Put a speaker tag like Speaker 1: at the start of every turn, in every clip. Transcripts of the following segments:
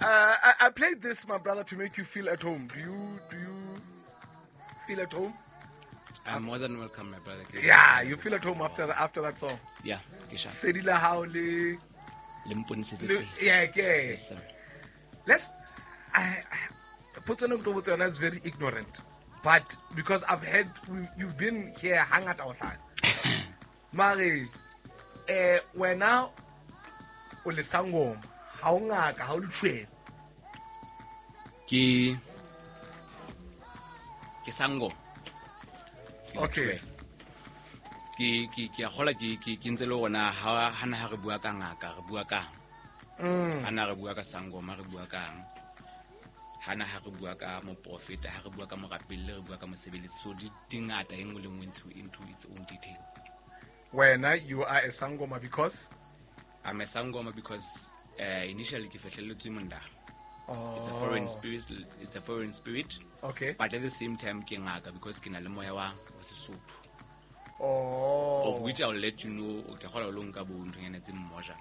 Speaker 1: I played this, my brother, to make you feel at home. Do you feel at home?
Speaker 2: I'm more than welcome, my brother.
Speaker 1: Yeah, you feel at home after that song.
Speaker 2: Yeah, ke sharp.
Speaker 1: Sedi la hao le
Speaker 2: Le mponisetse
Speaker 1: le
Speaker 2: tsela.
Speaker 1: Yeah, ke.
Speaker 2: Yes, sir.
Speaker 1: Let's I potso ena ke tlo botsa yona is very ignorant. But because I've heard you've been here hangata o hlaya. Mare wena o le sangoma, ha o ngaka, ha o letshwele.
Speaker 2: Ke sangoma. Ke letshwele. Ke a kgola ke ntse le rona ha na ha re bua ka ngaka re bua kang. Ha na re bua ka sangoma re bua kang. Ha na ha re bua ka moprofeta, ha re bua ka morapelli, re bua ka mosebeletsi. So di ngata, e nngwe le nngwe into its own details.
Speaker 1: Wena, you are a sangoma because
Speaker 2: I'm a sangoma because initially ke fehlelletswe monda.
Speaker 1: Oh.
Speaker 2: It's a foreign spirit. It's a foreign spirit. But at the same time ke ngaka because ke na le moya wa Sesotho.
Speaker 1: Oh.
Speaker 2: Of which I'll let you know, ke kgola o lo nka bo nthonyana tse mmoja.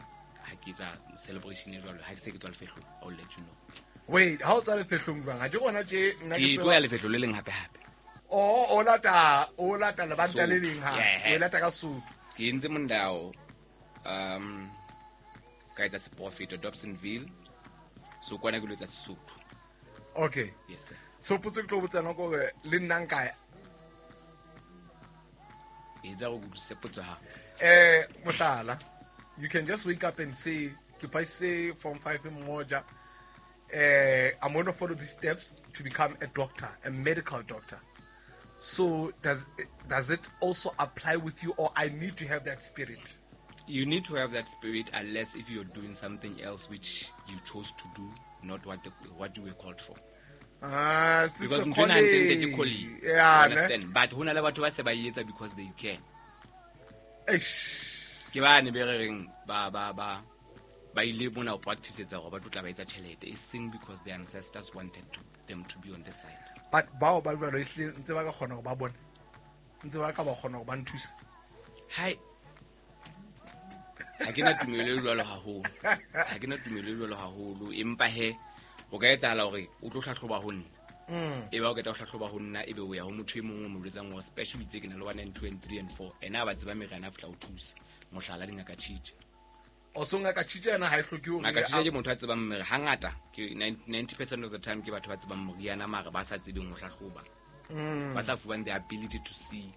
Speaker 2: Ha ke etsa celebration e jwalo, ha ke se ke tswa lefehlong, I'll let you know.
Speaker 1: Wait, ha o tswa lefehlong jwang? Ha ke gona tje nna
Speaker 2: Ke
Speaker 1: ke
Speaker 2: tlo
Speaker 1: tseba.
Speaker 2: ya lefehlo le leng hape hape.
Speaker 1: Oh, o lata lebanta le
Speaker 2: Sesotho.
Speaker 1: leng ha.
Speaker 2: Yeah.
Speaker 1: O lata ka Sotho.
Speaker 2: Ke entse mondao, ka etsa seprofeto Dobsonville. So kwana ke lo etsa Sesotho.
Speaker 1: Okay.
Speaker 2: Yes, sir.
Speaker 1: So potso ke tlo botsa yona ke hore le nna nka ya.
Speaker 2: Etsa go utlwisise potso ha.
Speaker 1: Mohlala, you can just wake up and say, ke passe form 5 mmoja. I'm going to follow these steps to become a doctor, a medical doctor. So does it also apply with you, or I need to have that spirit?
Speaker 2: You need to have that spirit unless if you're doing something else which you chose to do, not what you were called for.
Speaker 1: Ah, it's
Speaker 2: Because
Speaker 1: a
Speaker 2: ntho ena hantle ntle ke
Speaker 1: calling.
Speaker 2: calling.
Speaker 1: Yeah,
Speaker 2: You
Speaker 1: ne?
Speaker 2: understand? But ho na le batho ba se ba e etsa because they can.
Speaker 1: Eish.
Speaker 2: Ke bane be re reng ba ile mona ho practice-etsa hore ba tlo tla ba etsa tjhelete, e seng because their ancestors wanted them to be on this side.
Speaker 1: But bao ba jwalo ehlile ntse ba ka kgona hore ba bone. Ntse ba ka ba kgona hore ba nthuse.
Speaker 2: Hai. Ha ke na tumelo e jwalo haholo. Ha ke na tumelo e jwalo haholo, empa he o ka etsahala hore o tlo hlahloba ho nna. E ba o qeta ho hlahloba ho nna, ebe o ya ho motho e mong o mo jwetsang hore special itse ke na le 1 and 2 and 3 and 4. Ena a ba tseba meriana a fihla o thusa. Mohlala dingaka Tjitje.
Speaker 1: O so ngaka Tjitje yena ha e hloke hore
Speaker 2: Ngaka Tjitje ke motho a tsebang mere hangata ke 90% of the time ke batho ba tsebang moriana mare ba sa tsebeng ho hlahloba. Ba sa fuwang the ability to see.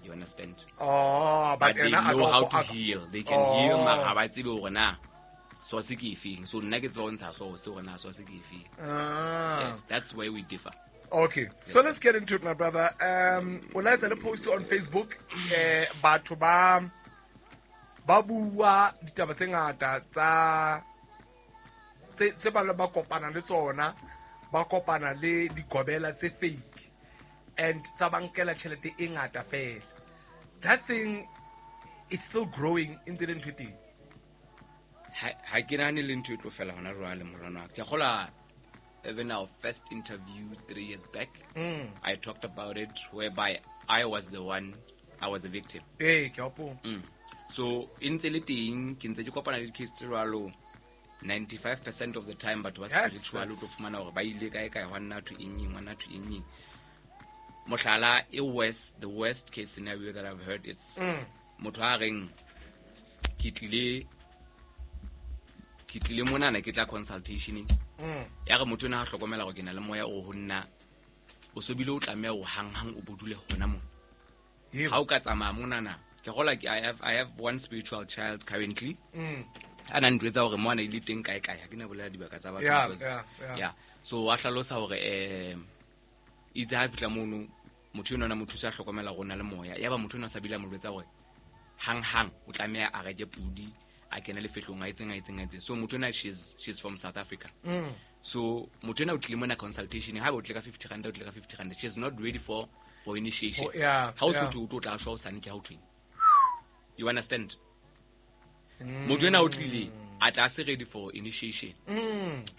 Speaker 2: You understand?
Speaker 1: Oh, but
Speaker 2: But they
Speaker 1: ena a
Speaker 2: know
Speaker 1: ka
Speaker 2: how
Speaker 1: o-
Speaker 2: to heal. They can
Speaker 1: Oh.
Speaker 2: heal mara ha ba tsebe hore na source ke efeng. So nna ke tseba ho ntsha source hore na source ke efeng.
Speaker 1: Ah.
Speaker 2: Yes, that's where we differ.
Speaker 1: Okay, so let's get into it, my brother. O la etsa le post on Facebook. Batho ba bua ditaba tse ngata tsa tse ba kopana le tsona, ba kopana le digobela tse fake and tsa ba nkela tjhelete e ngata fela. That thing is still growing ntse le ntho e teng.
Speaker 2: Ha ke nahane le ntho e tlo fela hona jwale, morana wa ka. Ke kgola even our first interview 3 years back, I talked about it whereby I was the one, I was a victim.
Speaker 1: Ee, ke a hopola.
Speaker 2: So e ntse le teng, ke ntse ke kopana le di-case tse jwalo. 95% of the time batho ba spiritual o tlo fumana hore ba ile kae kae, hwa nna thwe eng eng, hwa nna thwe eng eng. Mohlala e worst, the worst case scenario that I've heard is motho a reng ke tlile monana ke tla consultation-eng. Ya re motho ena ha hlokomela hore ke na le moya o ho nna, o so bile o tlameha ho hanghang o bo dule hona mona.
Speaker 1: Yebo.
Speaker 2: Ha o ka tsamaya monana, ke kgola ke I have one spiritual child currently. A na ntjwetsa hore mo a na ile teng kae kae, ha ke na bolela dibaka tsa batho because yeah. So a hlalosa hore itse ha fihla mono, motho enwa na mo thusa a hlokomela hore o na le moya. Yaba motho enwa o sa bile a mo jwetsa hore hanghang o tlameha a reke pudi, a kene lefehlong a etseng, a etseng, a etseng. So motho enwa she's from South Africa. So motho enwa o tlile mona consultation, ha ba o tlile ka 50 rand, o tlile ka 50 rand. She's not ready for initiation.
Speaker 1: Oh, yeah,
Speaker 2: Ha o
Speaker 1: yeah.
Speaker 2: so thwe o tlo tla shwa hosane ke ha o thweng. You understand? Motho enwa o tlile a tla se ready for initiation.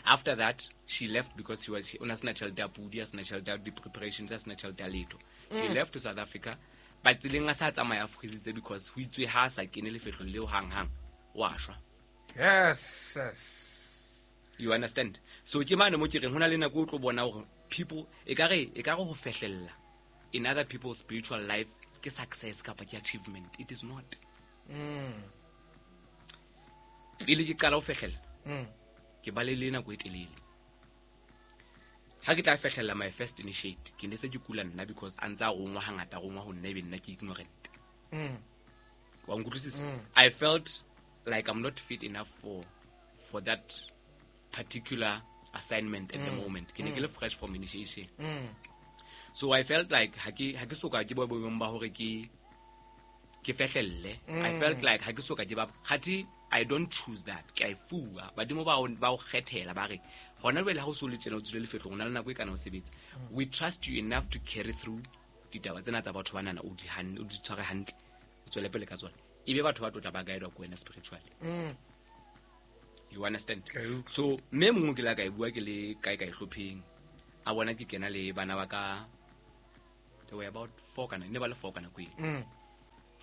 Speaker 2: After that she left because o na sena tjhelete ya pudi, a sena tjhelete ya di-preparations, a sena tjhelete ya letho. She left to South Africa, but tseleng a sa tsamaya a freezitse because ho itswe ha a sa kene lefehlong leo hanghang, wa shwa.
Speaker 1: Yes.
Speaker 2: You understand? So ke mane mo ke reng ho na le nako o tlo bona hore people ekare ho fehlella in other people's spiritual life ke success kapa ke achievement. It is not. Pele ke qala ho fehlella, ke ba le nako e telele. Ha ke tla fehlella my first initiate, ke ne se ke kula nna because a ntsa rongwa hangata, rongwa ho nna ebe nna ke ignorant. Wa nkutlwisisa? I felt like I'm not fit enough for that particular assignment at the moment. Ke ne ke le fresh from initiation. So I felt like ha ke soka ke bo boemong ba hore ke fehlelle. I felt like ha ke soka ke ba kgathi. I don't choose that. Ke a e fuwa. Badimo ba o kgethela ba re hona jwale ha o so le tjena o tswile lefehlong, o na le nako e kana o sebetsa. We trust you enough to carry through ditaba tsena tsa batho banana, o di tshware hantle, o tswele pele ka tsona. Ebe batho ba tlotla ba guide ko wena spiritually. You understand?
Speaker 1: Okay.
Speaker 2: So mme mongwe ke la ka e bua ke le kae kae hlopheng. A bona ke kena le bana ba ka, they were about 4 kana, ne ba le 4 kana kweng.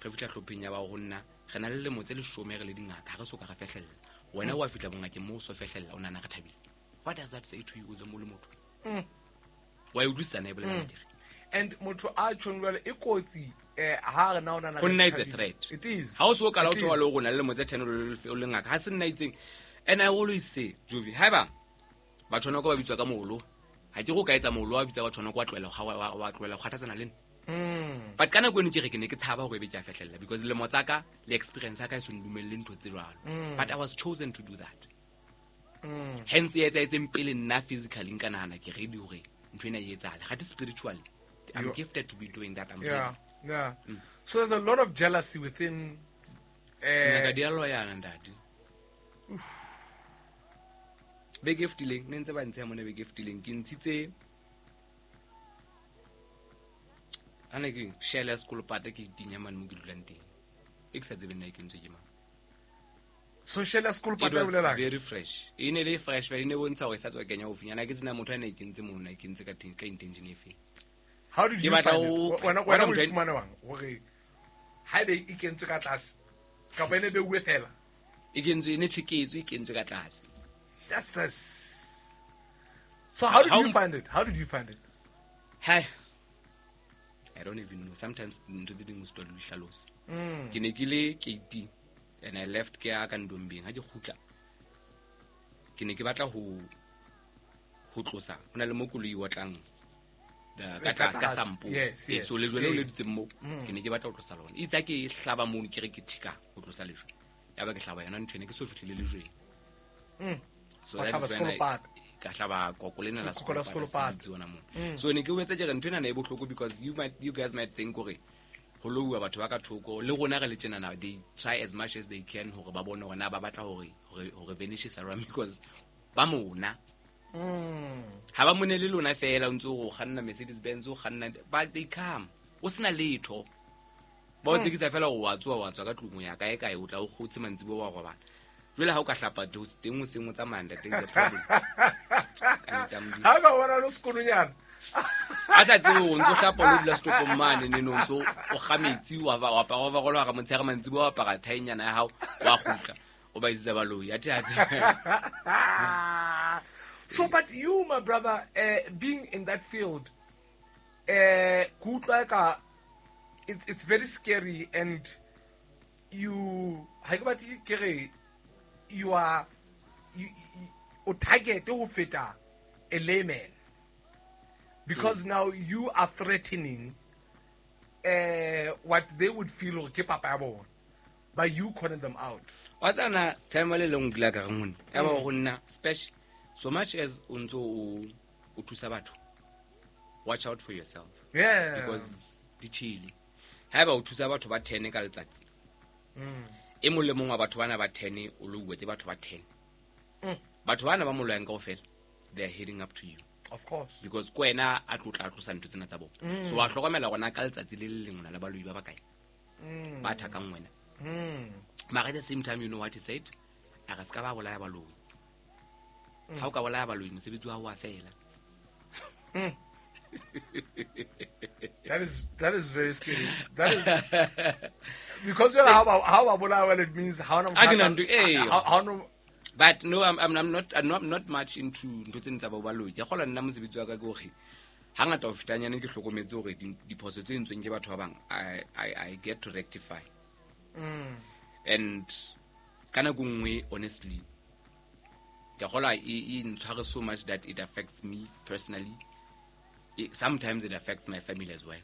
Speaker 2: Re fihla hlopheng ya ba ho nna, re na le lemo tse 10 re le dingaka, ha re soka re fehlella. Wena wa fihla bongakeng moo o so fehlella, o nahana re thabile. What does that say to you o le motho? Wa e utlwisisa na e bolela nnete?
Speaker 1: And motho a tjhong jwale e kotsi, ha re na o nahana
Speaker 2: Ho nna it's a threat.
Speaker 1: It is.
Speaker 2: Ha o so kala o thola le rona le lemo tse 10 o le ngaka, ha se nna itseng. And I always say, Jovi, haeba batho ba ba bitswa ka moholo, ha ke go ka etsa moholo wa bitsa batho ba kwa tlohela wa tlohela go kgathatsana le nna. But ka nako eno ke re ke ne ke tshaba hore ebe ke a fehlella because lemo tsa ka le experience ya ka e so ndumelle ntho tse jwalo. But I was chosen to do that. Hence e etsaetseng pele nna physically nka nahana ke ready hore ntho ena e etsahale. Kgathe spiritually, I'm gifted to be doing that. I'm ready.
Speaker 1: Yeah. So there's a lot of jealousy within.
Speaker 2: Ngaka di a loyana ntate. Beke e fetileng, ne ntse ba ntsheha mona beke e fetileng, ke ntshitse ha ne ke share ya sekolopata ke itinya mane mo ke dulang teng. E ke sa tsebeng na e kentswe ke mang.
Speaker 1: So share ya sekolopata
Speaker 2: It was
Speaker 1: e bolelang?
Speaker 2: very fresh. E ne le fresh, e ne bontsha hore e sa tswa kenya hofinyana. Ha ke tsena motho a ne e kentse mono, a e kentse ka teng, ka intention e feng.
Speaker 1: How did
Speaker 2: Ke
Speaker 1: you
Speaker 2: batla
Speaker 1: find it?
Speaker 2: ho
Speaker 1: Wena
Speaker 2: wena
Speaker 1: o
Speaker 2: motho a
Speaker 1: fumana jwang hore haebe e kentswe ka tlase kapa e ne beuwe fela?
Speaker 2: E kentswe, e ne tjheketswe, e kentswe ka tlase.
Speaker 1: Jesus. So how did
Speaker 2: How
Speaker 1: you find it? How did you find it?
Speaker 2: Hi. I don't even know. Sometimes ntho tse ding o sitwa le ho di hlalosa. Ke ne ke le keiti and I left ke ya ka Ndombeng. Ha ke kgutla, ke ne ke batla ho tlosa. Ho na le mo koloi e otlang ka
Speaker 1: Ka
Speaker 2: tlase, ka
Speaker 1: tlase.
Speaker 2: sampo.
Speaker 1: Yes, yes.
Speaker 2: So lejwe leo le dutseng moo,
Speaker 1: Mm.
Speaker 2: ke ne ke batla ho tlosa lona. Itse ha ke hlaba mono, ke re ke thika ho tlosa lejwe. Ya ba ke hlaba yona ntho ena, ke so fihlile lejweng. So
Speaker 1: Wa
Speaker 2: that
Speaker 1: hlaba
Speaker 2: is when I
Speaker 1: sekolopata.
Speaker 2: ka hlaba koko lena la
Speaker 1: Koko la
Speaker 2: sekolopata,
Speaker 1: sekolopata.
Speaker 2: se dutse hona moo. So ne ke boetse ke re ntho ena e bohloko because you guys might think hore ho louwa batho ba ka thoko, le rona re le tjenana, they try as much as they can hore ba bone hore na ba batla hore vanishisa jwang because ba mona. Ha ba mone le lona fela, o ntse o kganna Mercedes Benz, o kganna, but they come. O sena letho. Ba o tsekisa fela hore wa tsoha, wa tswa ka tlung, o ya kae kae, o tla o kgotse mantsiboya wa robala. Jwale ha o ka hlapa teng o seng o tsamaya, ntate, is a problem. Ka nnete ya Modimo.
Speaker 1: Ha ka bona le sekolonyana.
Speaker 2: A sa tsebe hore o ntso hlapa o lo dula setopong mane, ne, ne, o ntso o kga metsi, wa ba, wa apara overall hara motshehare mantsiboya, wa apara thaenyana ya hao, wa kgutla. O ba isitse baloi, athe ha tsebe.
Speaker 1: So, but you, my brother, being in that field, ke utlwa eka it's very scary, and you, ha ke batle ke re, you are, you, you, o target ho feta a layman, because now you are threatening what they would feel hore ke papa ya bona, by you calling them out.
Speaker 2: Wa tsana time le leng ke la ka re ngone, ya ba ho nna special. So much as o ntso o thusa batho, watch out for yourself. Because di chili. Haeba o thusa batho ba 10 ka letsatsi, e mong le mong wa batho bana ba 10 o louwe ke batho ba 10. Batho bana ba mo loyang kaofela, they are heading up to you.
Speaker 1: Of course.
Speaker 2: Because ko wena a tlotla a tlosa ntho tsena tsa bona. So wa hlokomela hore na ka letsatsi le le leng o na le baloi ba bakae. Ba thakang wena. Mara at the same time, you know what he said? A re se ka ba bolaya baloi. Ha o ka bolaya baloi, mosebetsi wa hao wa fela.
Speaker 1: That is very scary. That is because you know how about bolaya, well, it means how no
Speaker 2: A ke na ntho, ee.
Speaker 1: how no
Speaker 2: But no, I'm not much into ntho tse tsa bo baloi. Ke kgola nna mosebetsi wa ka ke hore hangata ho fetanyane ke hlokometse hore diphoso tse entsweng ke batho ba bang, I get to rectify. And ka nako nngwe, honestly, ke kgola e ntshware so much that it affects me personally. Sometimes it affects my family as well.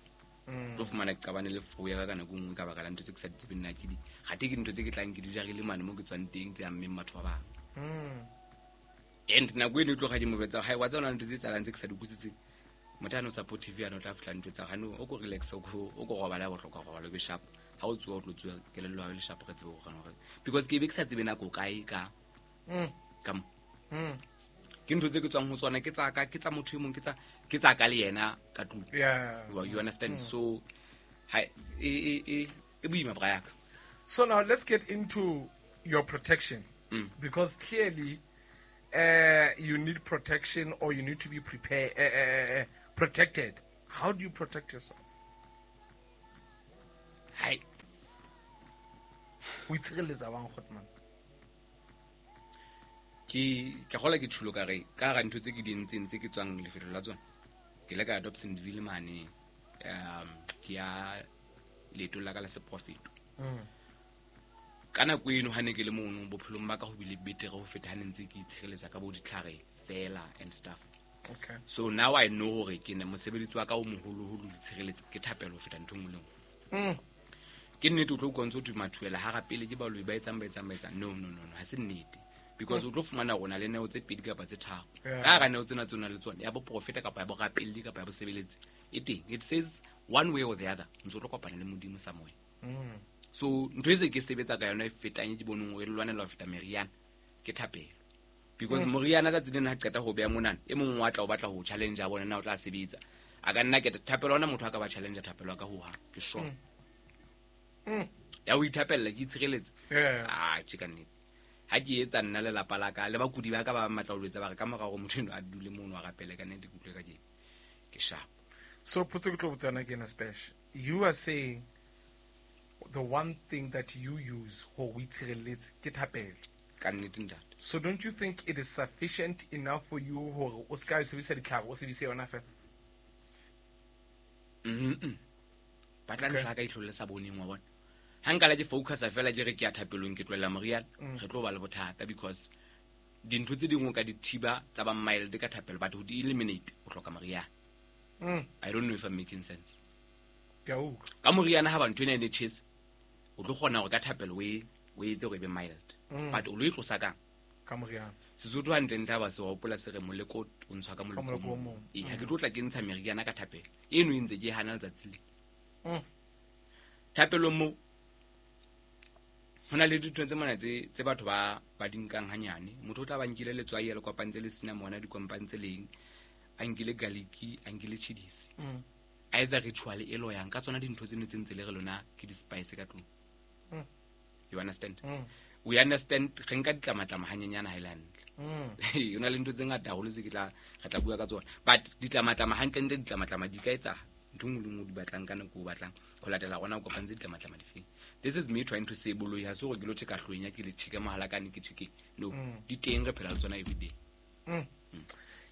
Speaker 2: Tlo fumana ke qabane le fo ya ka ka nako nngwe ka baka la ntho tse ke sa di tsebeng nna ke di gate ke dintho tse ke tlang ke di jarile mane mo ke tswang teng tse ammeng batho ba bang. And nako eno e tloga ke mo betsa hai wa tsona ntho tse tsalang tse ke sa di utlwisiseng, motho a no supportive yana o tla fihla ntho tsa gane o ko relax, o ko robala ya bohlokwa, robala o be sharp. Ha o tsoha, o tlo tsoha kelello ya hao e le sharp, re tsebe ho kgona hore because ke be ke sa tsebe nako kae ka ka mo. Ke ntho tse ke tswang ho tsona, ke tsa ka, ke tsa motho e mong, ke tsa ka le yena ka tlung. You understand? So ha e boima, bra yaka.
Speaker 1: So now let's get into your protection. Because clearly you need protection or you need to be prepared, protected. How do you protect yourself?
Speaker 2: Hai.
Speaker 1: O itshireletsa bang, Grootman?
Speaker 2: Ke gola ke tšhulo ka re ka ga ntho tse ke di entseng tse ke tswang lefelong la tsona, ke ile ka ya Dobsonville mane, ke ya leetong la ka la seprofeto. Ka nako eno ha ne ke le mono, bophelong ba ka ho bile betere ho feta ha ne ntse ke itshireletsa ka bo ditlhare fela and stuff. So now I know hore ke ne mosebetsi wa ka o moholoholo ho itshireletsa ke thapelo ho feta ntho e nngwe le nngwe. Ke nnete, o tlo utlwa ntse ho thwe mathuela ha rapele ke baloi ba etsang ba etsang ba etsang. No, no, no, no, ha se nnete, because o tlo fumana rona le neo tse pedi kapa tse tharo. Ka hara neo tsena tse o nang le tsona, ya boprofeta kapa ya borapelli kapa ya bosebeletsi e teng, it says one way or the other ntse o tlo kopana le Modimo somewhere. So ntho e se ke sebetsa ka yona e fetang e ke boneng hore e lwanela ho feta meriana ke thapelo, because moriana tsatsi lena ha qeta ho beha monana, e mongwe wa tla o batla ho challenge a bona na o tla sebetsa, a ka nna keta thapelo ona motho a ka ba challenge thapelo ya ka hohang, ke sure. Ya ho ithapella ke itshireletse. Ah, tje ka nnete ha ke etsa nna lelapa la ka le bakudi ba ka ba matla ho jwetsa ba re ka mora hore motho eno a dule mono a rapele, ka nnete ke utlwe ka ke sharp.
Speaker 1: So potso ke tlo botsana ke ena, Spesh. You are saying the one thing that you use ho o itshireletse ke thapelo.
Speaker 2: Ka nnete, ntate.
Speaker 1: So don't you think it is sufficient enough for you hore o ska sebedisa ditlhare, o sebedise yona fela?
Speaker 2: Batla ntho ya ka ihlo le sa boneng wa bona ha nka la ke focusa fela ke re ke ya thapelong, ke tlohella moriana, re tlo ba le bothata, because dintho tse dingwe o ka di thiba tsa ba mild ka thapelo, but ho di eliminate o hloka moriana. I don't know if I'm making sense.
Speaker 1: Ke a utlwa.
Speaker 2: Ka moriana ha ba ntho ena e ne tjhese, o tlo kgona hore ka thapelo o etse hore e be mild, but o lo e tlosa kang?
Speaker 1: Ka moriana.
Speaker 2: Sesotho hantlentle ha ba se wa hopola se re moleko o ntshwa ka
Speaker 1: moleko
Speaker 2: moleko
Speaker 1: o
Speaker 2: o
Speaker 1: mong.
Speaker 2: mong. Ee, ha ke tlo tla ke ntsha meriana ka thapelo eno e ntse ke e hana letsatsi le. Thapelong moo ho na le dintho tse mona tse batho ba di nkang hanyane. Motho o tla ba nkile letswai, a le kopantse le cinnamon, a di kopantse leng, a nkile garlic, a nkile chillies, a etsa ritual e loyang ka tsona dintho tseno tse ntse le re lona ke di-spice ka tlung. You understand? We understand. Re nka ditlamatlama hanyenyana ha e le hantle. Ho na le ntho tse ngata haholo tse ke tla re tla bua ka tsona, but ditlamatlama hantlentle, ditlamatlama di ka etsa ntho e nngwe le nngwe o di batlang ka nako o batlang ho latela gona o kopantse ditlamatlama difeng. This is me trying to say boloi ha se hore ke lo tjheka hlwenya, ke le tjheke mohalakane, ke tjheke no, di teng, re phela le tsona everyday.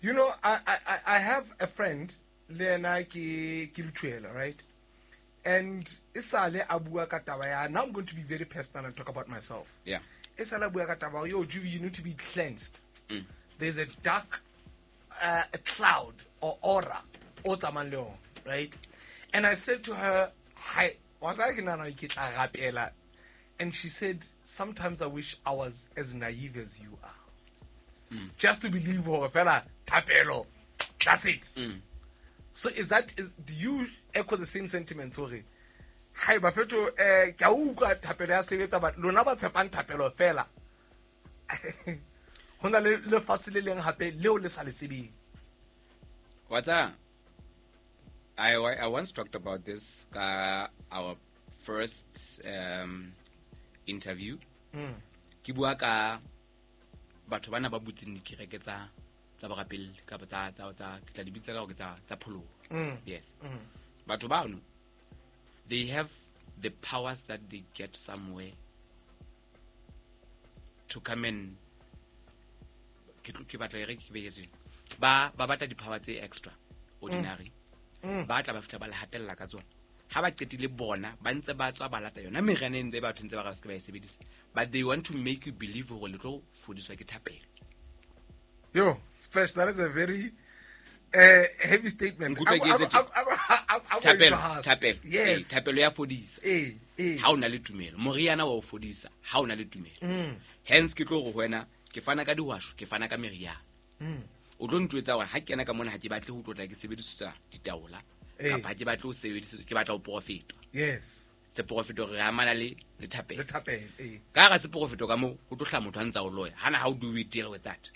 Speaker 1: You know, I have a friend, le yena ke lethuela, right? And esale a bua ka taba ya, now I'm going to be very personal and talk about myself. Esale a bua ka taba, yo, Juvi, you need to be cleansed. There's a dark a cloud or aura o tsamayang le yona, right? And I said to her, hi, wa tseba ke nahana ke tla rapela. And she said, sometimes I wish I was as naive as you are. Just to believe hore fela thapelo, that's it. So is that is do you echo the same sentiments hore hai bafeto ke a utlwa thapelo ya sebetsa, but lona ba tshepang thapelo fela, ho na le lefatshe le leng hape leo le sa le tsebeng?
Speaker 2: Wa tseba, I once talked about this ka our first interview. Ke bua ka batho bana ba butseng dikereke tsa borapelli kapa tsa ke tla di bitsa ka hore ke tsa pholoho. Yes. Batho bano, they have the powers that they get somewhere to come and Ke batla e re ke beye tjena. Ba batla di-power tse extra ordinary. Ba tla ba fihla ba le hatella ka tsona. Ha ba qetile bona ba ntse ba tswa ba lata yona meriana e ntse batho ntse ba re se ke ba e sebedisa. But they want to make you believe hore le tlo fodiswa ke thapelo.
Speaker 1: Yo, Splash, that is a very heavy statement.
Speaker 2: Thapelo.
Speaker 1: Yes.
Speaker 2: Thapelo ya fodisa. Ha o na le tumelo. Moriana wa o fodisa ha o na le tumelo. Hence ke tlo go wena ke fana ka dihwasho, ke fana ka meriana. O tlo ntwetsa hore ha ke kena ka mona ha ke batle ho tlotla ke sebedisetsa ditaola. Kapa ha ke batle ho sebedisetswa, ke batla ho profetwa.
Speaker 1: Yes.
Speaker 2: Seprofeto re amana le thapelo.
Speaker 1: Le thapelo,
Speaker 2: Ka hara seprofeto ka mo ho tlo hla motho a ntsa o loya. Hana how do we deal with that?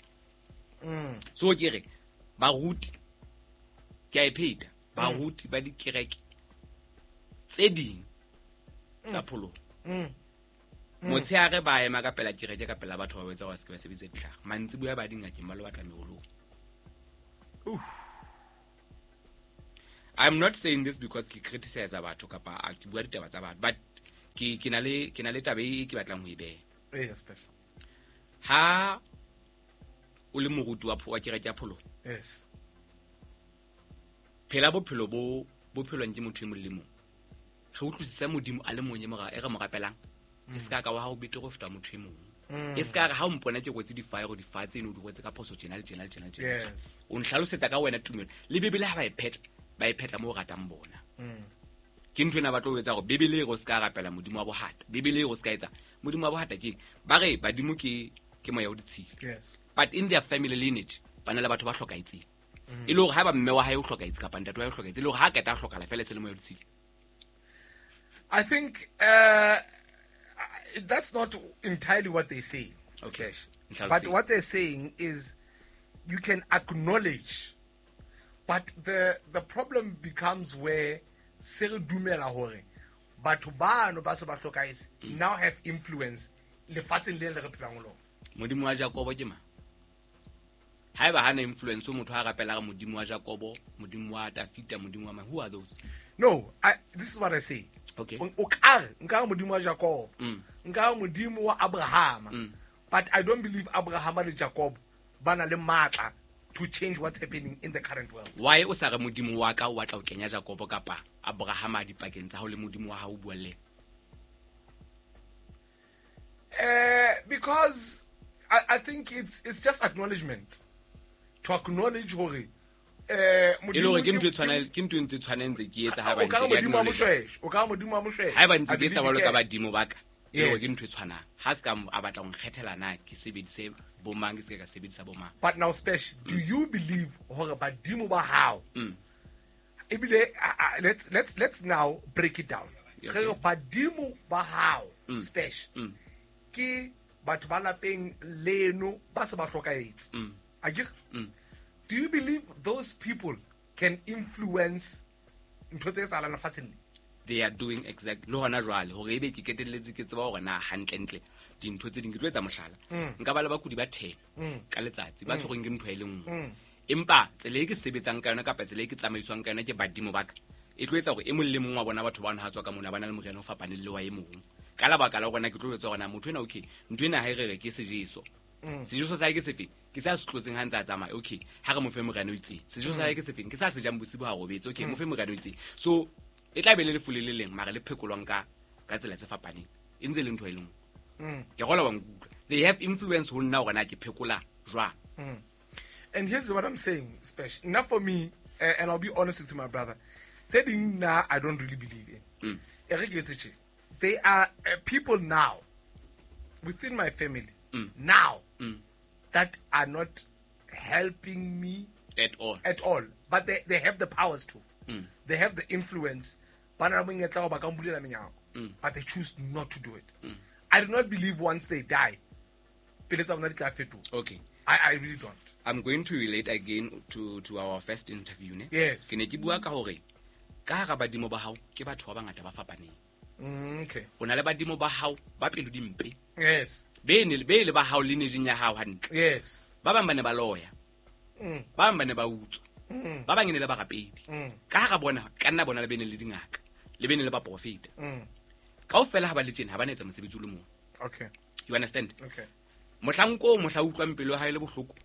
Speaker 2: So ke re baruti ke a e pheta, baruti ba dikereke tse ding tsa pholoho. Motshehare ba ema ka pela kereke ka pela batho ba etsa hore se ke ba sebedise ditlhare. Mantsiboya ba dingakeng ba lo batla meolong. I'm not saying this because ke criticize batho kapa ke bua ditaba tsa batho, but ke na le taba e ke batlang ho e beha.
Speaker 1: Yes, special.
Speaker 2: Ha o le moruti wa kereke ya pholoho.
Speaker 1: Yes.
Speaker 2: Phela bophelo bo bophelwang ke motho e mong le mong. Re utlwisisa Modimo a le mong e re mo rapelang. E se ka wa ha o betere ho feta motho e mong. E se ka re ha o mpona ke rwetse difaero difa tseno di rwetse ka phoso tjena le tjena le tjena le tjena.
Speaker 1: Yes.
Speaker 2: O nhlalosetsa ka wena tumelo. Le Bibele ha ba e phetla mo ratang bona. Ke ntho ena ba tlo etsa hore Bibele e re o se ka rapela Modimo wa bohata. Bibele e re o se ka etsa Modimo wa bohata ke ba re badimo ke moya o ditshila.
Speaker 1: Yes.
Speaker 2: But in their family lineage ba na le batho ba hlokahetseng. E le hore ha ba mme wa hae o hlokahetse kapa ntate wa hae o hlokahetse, e le hore ha qeta a hlokala fela se le moya o ditshila.
Speaker 1: I think that's not entirely what they say.
Speaker 2: Okay.
Speaker 1: But what they're saying is you can acknowledge, but the problem becomes where se re dumela hore batho bano ba se ba hlokahetse now have influence lefatsheng le re phelang ho lona.
Speaker 2: Modimo wa Jakobo ke mang? Haeba hana influence o motho a rapela re Modimo wa Jakobo, Modimo wa Tafita, Modimo wa mang? Who are those?
Speaker 1: No, this is what I say.
Speaker 2: Okay.
Speaker 1: O ka nka Modimo wa Jakobo, nka Modimo wa Abraham. But I don't believe Abraham le Jacob ba na le matla to change what's happening in the current world.
Speaker 2: Why o sa re Modimo wa ka o batla ho kenya Jakobo kapa Abraham a dipakeng tsa hao le Modimo wa hao o bua le?
Speaker 1: Because I think it's just acknowledgement. To acknowledge hore
Speaker 2: e le hore ke ntho e tshwanang, ke ntho e ntse tshwanetse ke etsa ha ba ntse ke acknowledge.
Speaker 1: O ka Modimo wa Moshweshwe.
Speaker 2: Ha ba ntse ke etsa jwalo ka badimo ba ka. E le hore ke ntho e tshwanang. Ha se ka a batla ho nkgethela na ke sebedise bomang ke se ka sebedisa bomang.
Speaker 1: But now Spesh, do you believe hore badimo ba hao? Ebile let's now break it down.
Speaker 2: Okay.
Speaker 1: Re badimo ba hao Spesh. Ke batho ba lapeng leno ba se ba hlokahetse. Akere? Do you believe those people can influence ntho tse etsahalang lefatsheng le?
Speaker 2: They are doing exactly le hona jwale hore ebe ke ketelletse ke tseba hore na hantlentle dintho tse ding ke tlo etsa mohlala. Nka ba le bakudi ba 10 ka letsatsi ba tshwerweng ke ntho e le nngwe. Empa tsela e ke sebetsang ka yona kapa tsela e ke tsamaiswang ka yona ke badimo ba ka e tlo etsa hore e mong le mong wa bona batho ba ha tswa ka mona ba na le moriana o fapaneng le wa e mong. Ka lebaka la hore na ke tlo etsa hore na motho ena okay ntho ena ha e re re ke sejeso. Sejeso sa hae ke sefeng? Ke sa se tlotseng ha ntse a tsamaya. Okay, ha re mo fe moriana o itseng. Sejeso sa hae ke sefeng? Ke sa se jang bosibu ha robetse. Okay, mo fe moriana o itseng. So e tla be le lefu le le leng mara le phekolwang ka tsela tse fapaneng. E ntse le ntho e le nngwe. Ke gola wa nkutlwa. They have influence ho nna hore na ke phekola jwang.
Speaker 1: And here's what I'm saying, Spesh. Now for me, and I'll be honest with you, my brother. Tse ding nna I don't really believe in. E re ke etse tje. They are people now within my family now that are not helping me
Speaker 2: at all.
Speaker 1: At all. But they have the powers to. They have the influence. But they choose not to do it. I do not believe once they die.
Speaker 2: Okay.
Speaker 1: I really don't.
Speaker 2: I'm going to relate again to our first interview. Ne?
Speaker 1: Yes.
Speaker 2: Ke ne ke bua ka hore ka hara badimo ba hao ke batho ba bangata ba fapaneng.
Speaker 1: Okay.
Speaker 2: O na le badimo ba hao ba pelo dimpe.
Speaker 1: Yes.
Speaker 2: Be le ba hao lineage ya hao hantle.
Speaker 1: Yes.
Speaker 2: Ba bang ba ne ba loya. Ba bang ba ne ba utswa. Ba bang e ne le barapedi. Ka hara bona ka nna bona le bene le dingaka, le bene le baprofeta. Kaofela ha ba le tjena ha ba na etsa mosebetsi o le mong.
Speaker 1: Okay.
Speaker 2: You understand?
Speaker 1: Okay.
Speaker 2: Mohlanko mohla utlwang pelo ha e le bohloko.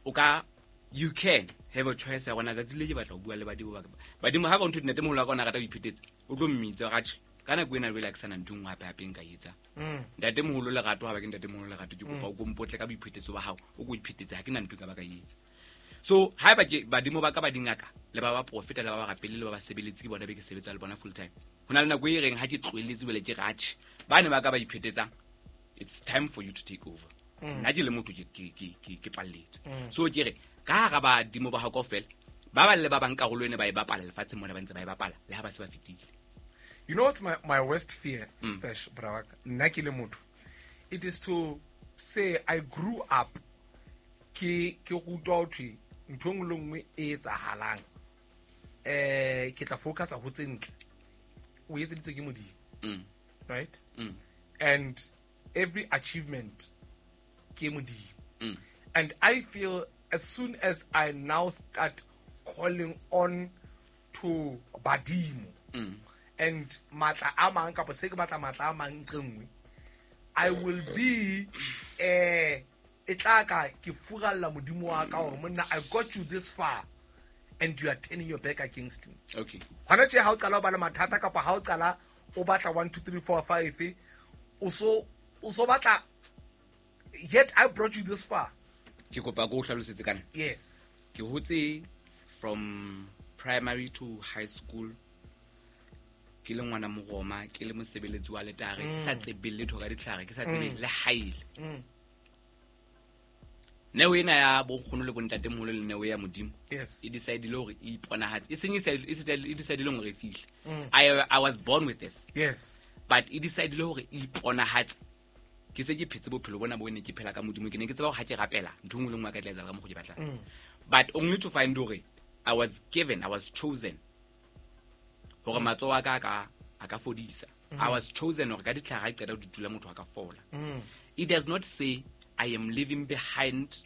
Speaker 2: O ka, you can have a choice ya gona tsatsi le ke batla ho bua le badimo ba ka. Badimo ha ba ntho ntatemoholo wa ka o na rata ho iphetetsa, o tlo mmitsa wa re, atjhe, ka nako ena jwale ha ke sana ntho e nngwe hape hape nka e etsang. Ntatemoholo Lerato, ha ba ke ntatemoholo Lerato, ke kopa o ko mpotle ka boiphetetso ba hao, o ko iphetetse, ha ke na ntho e ka ba ka e etsa. So haeba ke badimo ba ka ba dingaka le ba baprofeta le ba barapeli le ba basebeletsi ke bona be ke sebetsa le bona full time. Ho na le nako e reng ha ke tlohelletse jwale ke re atjhe, ba ne ba ka ba iphetetsang, it's time for you to take over. Nna ke le motho ke palletswe. So ke re ka hara badimo ba hao kaofela, ba bang le ba bang karolo ene ba e bapala lefatsheng mona ba ntse ba e bapala le ha ba se ba fetile.
Speaker 1: You know what's my worst fear, Spesh, bra wa ka? Nna ke le motho. It is to say I grew up ke rutwa ho thwe ntho e nngwe le nngwe e etsahalang. Ke tla focusa ho tse ntle. O etseditswe ke Modimo. Right? And every achievement ke Modimo. And I feel as soon as I now start calling on to badimo and matla a mang kapa se ke batla matla a mang ntle nngwe, I will be, e tla ka ke furalla Modimo wa ka hore monna, I got you this far and you are turning your back against me. Hona tje ha o qala o ba le mathata kapa ha o qala o batla 1 2 3 4 5, o so batla, yet I brought you this far.
Speaker 2: Ke kopa ko o hlalosetse kana.
Speaker 1: Yes.
Speaker 2: Ke hotse from primary to high school ke le ngwana Moroma, ke le mosebeletsi wa letare, ke sa tsebe letho ka ditlhare, ke sa tsebe le haele. Neo ena ya bonkgono le bontatemoholo le neo ya Modimo.
Speaker 1: Yes.
Speaker 2: E decide-ile hore e iponahatse. E seng e sa, e se e decide-ile hore e fihle. I was born with this.
Speaker 1: Yes.
Speaker 2: But e decide-ile hore e iponahatse. Ke se ke phetse bophelo bona bo ne ke phela ka Modimo, ke ne ke tseba hore ha ke rapela, ntho e nngwe le nngwe a ka tla etsahala ka mokgwa ke batlang. But only to find hore I was given, I was chosen. Hore matsoho a ka a ka fodisa. I was chosen hore ka ditlhare ha ke qeta ho di tula motho a ka fola. It does not say I am leaving behind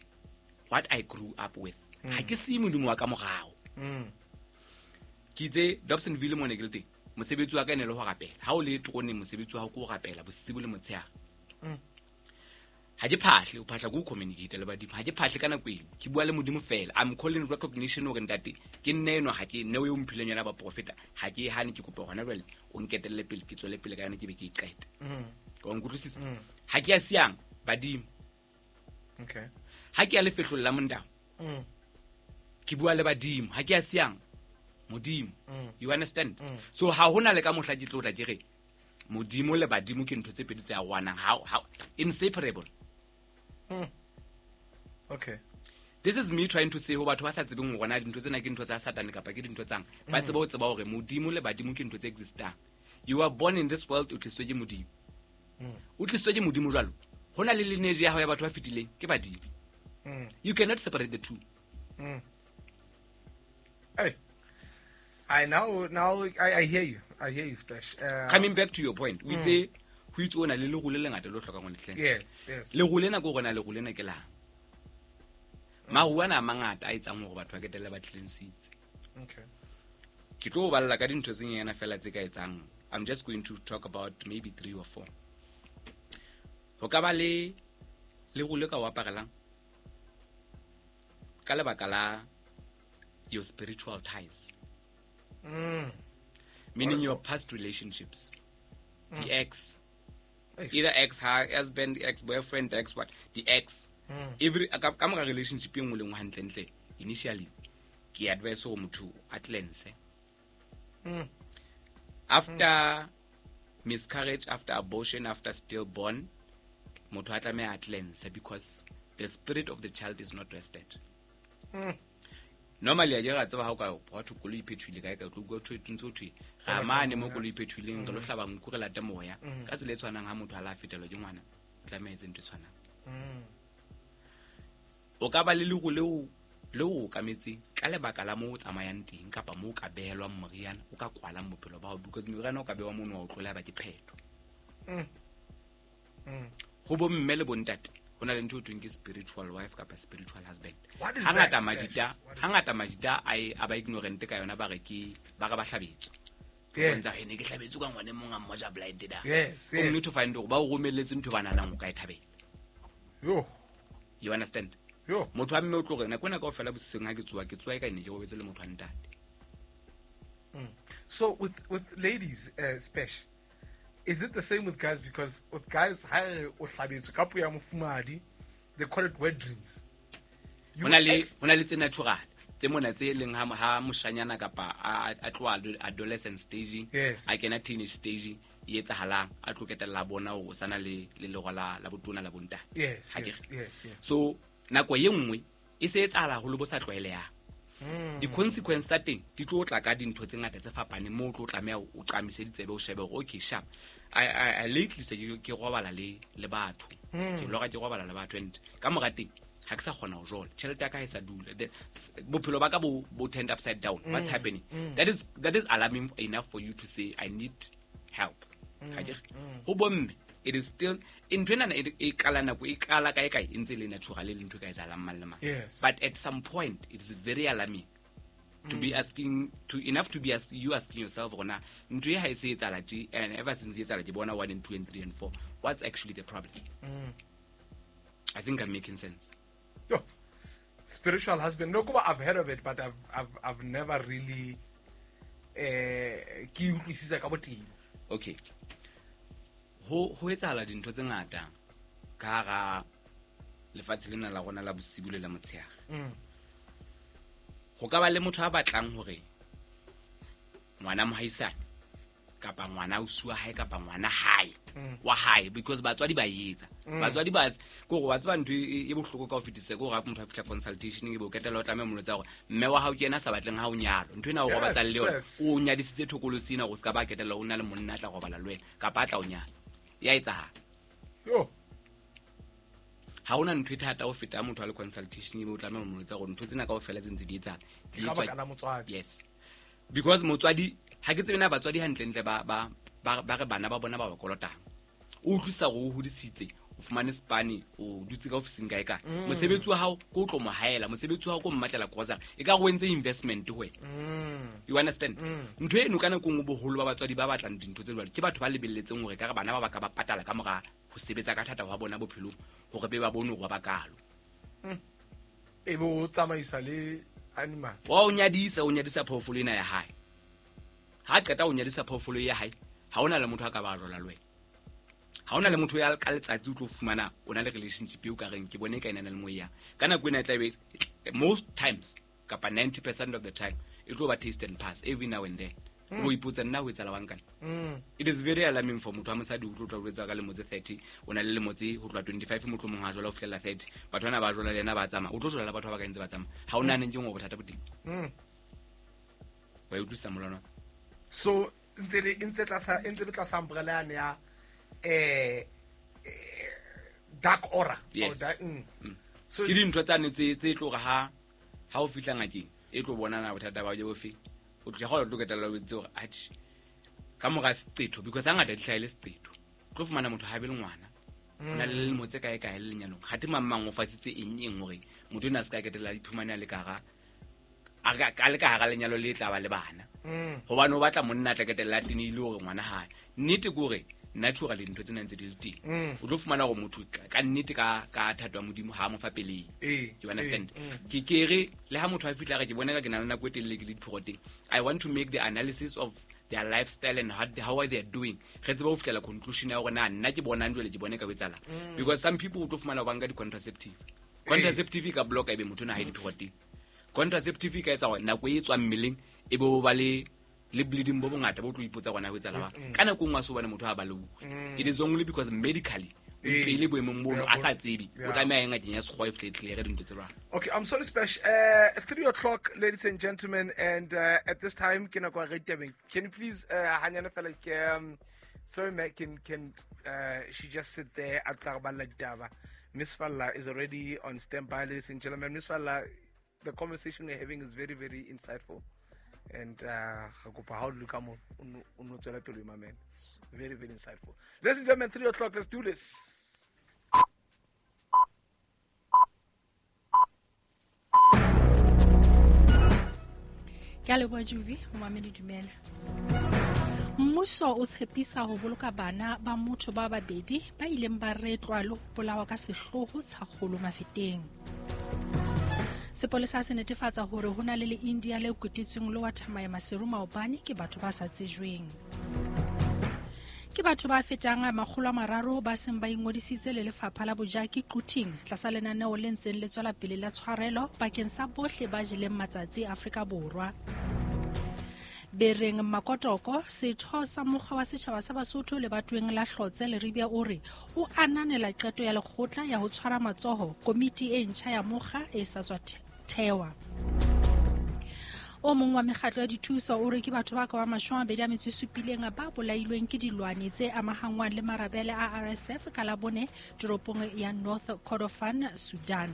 Speaker 2: what I grew up with. Ha ke siye Modimo wa ka morao. Ke itse Dobsonville mo ne ke le teng, mosebetsi wa ka e ne le ho rapela. Ha o le teroneng, mosebetsi wa hao ke ho rapela bosibu le motshehare. Ha ke phahle, o phahla ke ho communicate le badimo. Ha ke phahle ka nako eno, ke bua le Modimo fela. I'm calling recognition hore ntate, ke nne enwa, ha ke neo eo mphileng yona ba profeta. Ha ke e hane, ke kopa hona jwale o nketelle pele, ke tswele pele ka yona, ke be ke e qete. Wa nkutlwisisa? Ha ke a siyang badimo.
Speaker 1: Okay.
Speaker 2: Ha ke ya lefehlong la Mondao, ke bua le badimo. Ha ke a siyang Modimo. You understand? So ha hona le ka mohla ke tlo tla ke re Modimo le badimo ke ntho tse pedi tse arohanang. How inseparable.
Speaker 1: Okay.
Speaker 2: This is me trying to say ho batho ba sa tsebeng hore na dintho tsena ke ntho tsa Satane kapa ke dintho tsang. Ba tsebe ho tseba hore Modimo le badimo ke ntho tse existang. You are born in this world, o tlisitswe ke Modimo. O tlisitswe ke Modimo jwalo. Ho na le lineage ya hao ya batho ba fetileng, ke badimo. You cannot separate the two.
Speaker 1: Hey. I now I hear you. I hear you, Splash.
Speaker 2: Coming back to your point, we say ho itse o na le leruo le lengata le o hlokang ho le cleanse.
Speaker 1: Yes, yes.
Speaker 2: Leruo lena ke hore na leruo lena ke lang? Maruo ana a mangata a etsang hore batho ba ketelle ba cleansitse.
Speaker 1: Okay.
Speaker 2: Ke tlo o balla ka dintho tse nyane fela tse ka etsang. I'm just going to talk about maybe 3 or 4. Ho ka ba le leruo le ka o aparelang ka lebaka la your spiritual ties. Meaning your past relationships. The ex.
Speaker 1: Eish.
Speaker 2: Either ex husband, ex boyfriend, ex what, the ex. Every ka mora relationship e nngwe le nngwe hantlentle, initially ke advise hore motho a cleanse. After miscarriage, after abortion, after stillborn, motho a tlameha a cleanse because the spirit of the child is not rested. Normally, a ke ra tseba ha o ka wa thwe koloi e phethohile kae kae, o tlo utlwa ho thwe, ntse ho thwe, ra mane mo koloi e phethohileng, re lo hlaba nku, re late moya. Ka tsela e tshwanang ha motho a la fetelwa ke ngwana, o tlameha a etse ntho e tshwanang. O ka ba le leruo leo o okametseng ka lebaka la moo o tsamayang teng kapa moo o ka behelwang moriana, o ka kwalang bophelo ba hao, because moriana o ka behwa mono wa o tlola ba ke phetho. Ho bo mme le bontate, ho na le ntho e thweng ke spiritual wife kapa spiritual husband.
Speaker 1: What is
Speaker 2: Hangata
Speaker 1: that,
Speaker 2: majita,
Speaker 1: Splash? What is
Speaker 2: hangata
Speaker 1: that?
Speaker 2: majita a e, a ba ignorant ka yona, ba re ke, ba re ba hlabetswe.
Speaker 1: Yes.
Speaker 2: Bontsha, He ne ke hlabetswe ka ngwana e mong a mmoja blind da.
Speaker 1: Yes,
Speaker 2: O
Speaker 1: yes.
Speaker 2: mme to find hore ba o romelletse ntho ba nahanang o ka e thabela.
Speaker 1: Yo.
Speaker 2: You understand? Motho wa mme o tlo re nako ena kaofela bosiseng ha ke tsoa ke tsoa e ka ne ke robetse le motho wa ntate.
Speaker 1: So with ladies, Spesh, is it the same with guys? Because with guys, ha o hlabetswe ka puo ya mofumahadi, they call it wet dreams.
Speaker 2: Ho na le tse natural tse mona tse leng ha moshanyana kapa a tloha adolescent staging, a kena teenage staging, e etsahalang a tlo ketella bona hore o sana le lero la botona la bontate.
Speaker 1: Yes.
Speaker 2: So nako ye nngwe e se etsahala haholo bo sa tlwaelehang. Di-consequence tsa teng di tlo tla ka dintho tse ngata tse fapaneng moo o tlo tlameha o qamise ditsebe o shebe hore okay sharp. I lately se ke robala le batho. Ke lora ke robala le batho and ka mora teng ha ke sa kgona ho jola. Tjhelete ya ka ha e sa dula. Bophelo ba ka bo turned upside down. What's happening? That is alarming enough for you to say I need help. Ho bomme it is still ntho ena e qala nako e qala kae kae e ntse le natural le ntho e ka etsahalang mang le mang. But at some point it is very alarming to be asking to enough to be you asking yourself rona ntho e ha e se etsahala tje, and ever since e etsahala ke bona 1 and 2 and 3 and 4, what's actually the problem? I think I'm making sense.
Speaker 1: Yo, spiritual husband, no, I've heard of it, but I've never really ke utlwisisa ka botebo.
Speaker 2: Okay. Ho etsahala dintho tse ngata ka hara lefatshe lena la rona la bosibu le la motshehare. Ho ka ba le motho a batlang hore ngwana mohaisane kapa ngwana ausi wa hae kapa ngwana hae wa hae, because batswadi ba etsa. Batswadi ba ke hore wa tseba ntho e bohloko ka ho fetisa ke hore ha motho a fihla consultation e be o ketela o tlameha molotsa hore mme wa hao ke yena a sa batleng ha o nyalo. Ntho ena o robatsa le yona, o nyadisitse thokolosi ena hore o ska ba ketela o na le monna a tla robala le wena kapa a tla o nyala. Ya etsahala.
Speaker 1: Yo.
Speaker 2: Ha hona ntho e thata ho feta motho a le consultation ebe o tlameha ho molotsa hore ntho tsena kaofela tse ntse di etsahala.
Speaker 1: Di etswa ka motswadi.
Speaker 2: Yes. Because motswadi ha ke tsebe na batswadi hantlentle ba re bana ba bona ba ba kolotang. O utlwisa hore o hodisitse, o fumane spane, o dutse ka ofising kae kae. Mosebetsi wa hao ke o tlo mo haela, mosebetsi wa hao ke o mmatlela grocery. E ka re o entse investment ho wena. You understand? Ntho eno ka nako nngwe boholo ba batswadi ba batlang dintho tse jwalo ke batho ba lebelletseng hore ka re bana ba ka ba patala ka mora ho sebetsa ka thata hwa bona bophelong hore be ba bone hore ba kalo.
Speaker 1: E bo tsamaisa le animal.
Speaker 2: Wa o nyadisa phoofolo ena ya hae. Ha qeta o nyadisa phoofolo ya hae, ha ona le motho a ka ba jola le wena. Ha ona le motho ya ka letsatsi o tlo fumana o na le relationship eo ka reng ke bone ka ena le moya. Ka nako ena e tla be most times kapa 90% of the time e tlo ba taste and pass every now and then. O ipotsa nna ho etsahala wang kana. It is very alarming for motho wa mosadi o tlo tla jwetsa ka lemo tse 30, o na le lemo tse ho tloha 25 mohlomong ha jola ho fihlela 30. Batho bana ba jola le yena ba tsamaya. O tlo jola le batho ba ka ntse ba tsamaya. Ha o nahane ke ngwe bothata bo teng. Wa utlwisisa molwana?
Speaker 1: So ntse tlasa umbrella ya dark aura.
Speaker 2: Yes.
Speaker 1: Or dark, So
Speaker 2: ke dintho tsane tse tlo re ha o fihla ngakeng e tlo bona na bothata ba jo bofe. O tlo kgona ho ketella o itse hore atjhe ka mora seqetho, because hangata di hlahele seqetho. O tlo fumana motho ha be le ngwana. O na le lemo tse kae kae le lenyalong. Kgathe mang mang o fasitse eng hore motho ena a se ka ketella iphumane a le ka hara a le ka hara lenyalo le tla ba le bana. Hobane o batla monna a tla ketella teng ile hore ngwana hae. Nnete ke hore naturally dintho tsena ntse di le teng. O tlo fumana hore motho ka nnete ka thato ya Modimo ha mo fa pele. You understand? Ke kere le ha motho a fihla re ke bona ka ke na le nako e telele ke le diphoroteng. I want to make the analysis of their lifestyle and how are they doing. Re tsebe ho fihlela conclusion ya hore na nna ke bona jwale ke bone ka etsahala. Because some people o tlo fumana ba nka di-contraceptive. Contraceptive ka block ebe motho na ha e diphoroteng. Contraceptive ka etsa hore nako e tswang mmeleng e bo ba le bleeding bo bongata bo tlo ipotsa gona ho etsahala ba. Ka nako nngwe a so bone motho ha ba le. It is only because medically o pele boemong bono a sa tsebe o tlameha eng ngakeng ya sekgowa e fihle clear dintho tse jwalo.
Speaker 1: Okay, I'm sorry Spesh. 3:00, ladies and gentlemen, and at this time ke nako ya re ditabeng. Can you please hanyane fela ke sorry Matt, can she just sit there a tla re balla ditaba. Miss Falla is already on standby, ladies and gentlemen. Miss Falla, the conversation we're having is very, very insightful. And how look mo o no tswela pele my man. Very, very insightful. Ladies and gentlemen, 3:00, let's do this.
Speaker 3: Ke a leboha Juvi, momamedi dumela. Mmuso o tshepisa ho boloka bana ba motho ba babedi ba ileng ba retlwa le ho bolawa ka sehloho Tshakgolo Mafeteng. Sepolesa se netefatsa hore ho na le le-India le kwetetsweng le wa thamaya Maseru maobane ke batho ba sa tsejweng. Ke batho ba fetang 300 ba seng ba ingodisitse le lefapha la bojaki Quthing tlasa lenaneo le ntseng le tswela pele la tshwarelo bakeng sa bohle ba jeleng matsatsi Afrika Borwa. Bereng Makotoko, setho sa mokgwa wa setjhaba sa Basotho lebatoweng la Hlotse Leribia o re o ananela qeto ya lekgotla ya ho tshwara matsoho komiti e ntjha ya mokga e sa tswa thewa. O mong wa mekgatlo ya dithuso o re ke batho ba ka ba 27 ba bolailweng ke dilwane tse amahangwang le marabele a RSF ka Labone toropong ya North Kordofan, Sudan.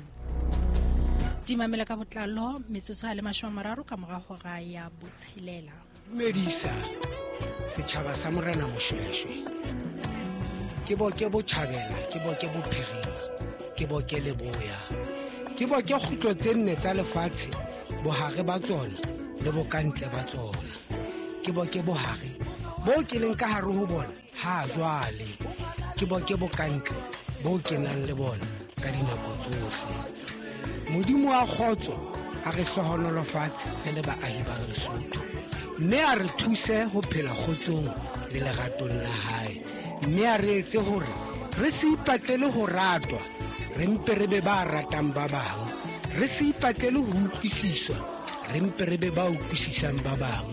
Speaker 3: Dimamela ka botlalo metsotso a le 30 ka mora hora ya 6.
Speaker 4: Dumedisa setjhaba sa Morena Moshweshwe. Ke boke botjhabela, ke boke bophirima, ke boke leboya. Ke boke kgutlo tse nne tsa lefatshe, bohare ba tsona le bokantle ba tsona. Ke boke bohare bo ke leng ka hare ho bona ha jwale. Ke boke bokantle bo ke nang le bona ka dinako tsohle. Modimo wa kgotso a re hlohonolofatse re le baahi ba Lesotho, mme a re thuse ho phela kgotsong le leratong la hae, mme a re etse hore re se ipatlele ho ratwa, re mpe re be ba ratang ba bang, re se ipatlele ho utlwisiswa, re mpe re be ba utlwisisang ba bang,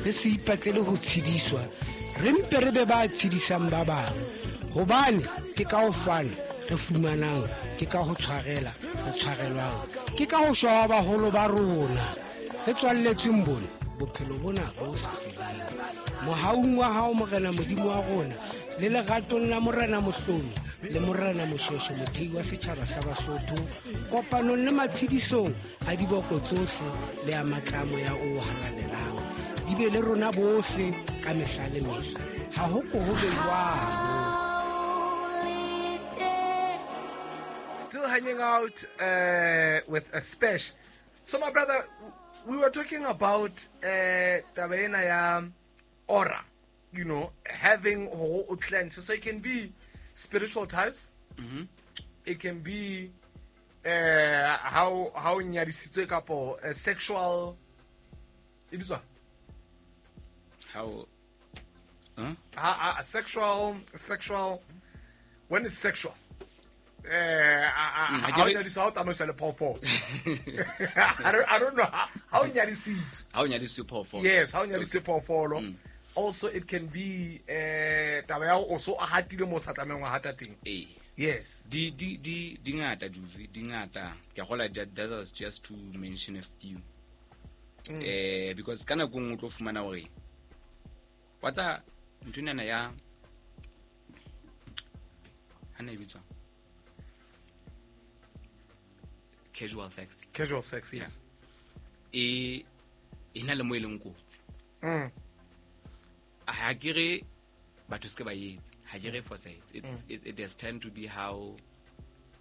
Speaker 4: re se ipatlele ho tshediswa, re mpe re be ba tshedisang ba bang, hobane ke ka ho fana re fumanang, ke ka ho tshwarela re tshwarelwang, ke ka ho shwa baholo ba rona re tswalletsweng bona bophelo bona bo sa feleng. Mohaung wa hao Morena Modimo wa rona le leratong la Morena Mohlomi le Morena Moshweshwe mothei wa setjhaba sa Basotho, kopanong le matshedisong a diboko tsohle le a matlamo ya o halalelang, di be le rona bohle ka mehla le mehla. Ha ho ko ho be jwalo.
Speaker 1: Still hanging out with a Spesh. So my brother, we were talking about taba ena ya aura, you know, having ho cleanse. So it can be spiritual ties.
Speaker 2: Mm-hmm.
Speaker 1: It can be how nyadisitswe kapo sexual. E bitswa?
Speaker 2: How? Huh?
Speaker 1: Sexual. When is sexual? How nyadiswa o tsamaiswa le phoofolo. I don't know how nyadisitswe.
Speaker 2: How nyadisitswe phoofolo.
Speaker 1: Yes, how nyadisitswe phoofolo. Also it can be taba ya o so a hatile mo sa tlamehang ho hata teng.
Speaker 2: Eh.
Speaker 1: Yes.
Speaker 2: Di ngata Juvi, di ngata. Ke gola that was just to mention a few. Because kana go o tlo fumana hore wa tsa nthonyana ya hana e bitswa casual sex.
Speaker 1: Casual sex, yes.
Speaker 2: Yeah. E na le mo e leng kotsi. Ha ke re batho se ke ba etse, ha ke re fosahetse. It has tend to be how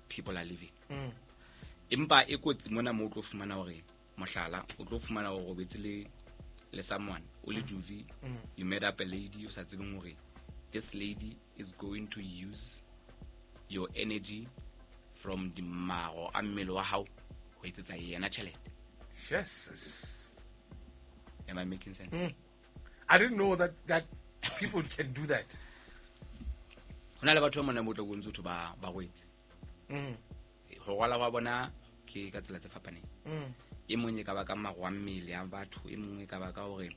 Speaker 2: people are living. Empa e kotsi mona mo o tlo fumana hore mohlala, o tlo fumana hore o robetse le someone, o le Juvi, you met up a lady o sa tsebeng hore this lady is going to use your energy from the maro a mmele wa hao ho etsetsa yena tjhelete.
Speaker 1: Yes.
Speaker 2: Am I making sense?
Speaker 1: I didn't know that people can do that.
Speaker 2: Ho na le batho ba mona mo tlo bontse batho ba rwetse. Ho rwala wa bona ke ka tsela tse fapaneng. E mong e ka ba ka maro a mmele a batho, e mong e ka ba ka hore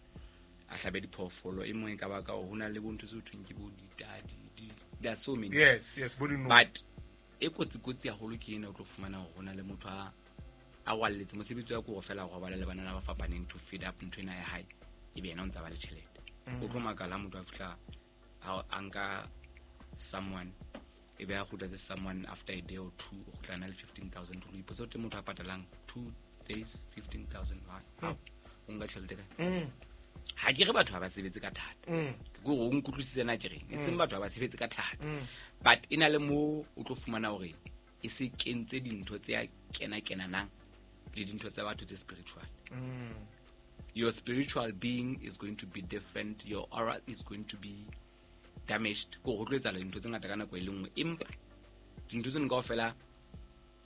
Speaker 2: a hlabe diphoofolo, e mong e ka ba ka hore ho na le bontho tse thweng ke bo ditadi, there are so many.
Speaker 1: Yes, yes, bo dino.
Speaker 2: But e kotsi haholo ke ena o tlo fumana hore ho na le motho a rwalletse mosebetsi wa ko fela go robala le banana ba fapaneng to feed up ntho ena ya hae, e be yena o ntsa ba le tjhelete. O tlo makala motho a fihla a nka someone, e be a kgutla le someone after a day or two, o kgutla na le 15,000. O ipotsa o teng motho a patalang 2 days 15,000. O nka tjhelete kae? Ha ke re batho ha ba sebetse ka thata. Ke gore o nkutlwisise na ke reng, e seng batho ha ba sebetse ka thata. But e na le mo o tlo fumana hore e se kentse dintho tse a kena-kenanang le dintho tsa batho tse spiritual. Your spiritual being is going to be different, your aura is going to be damaged. Ko go tlo etsahala dintho tse ngata ka nako e le nngwe, empa dintho tseno kaofela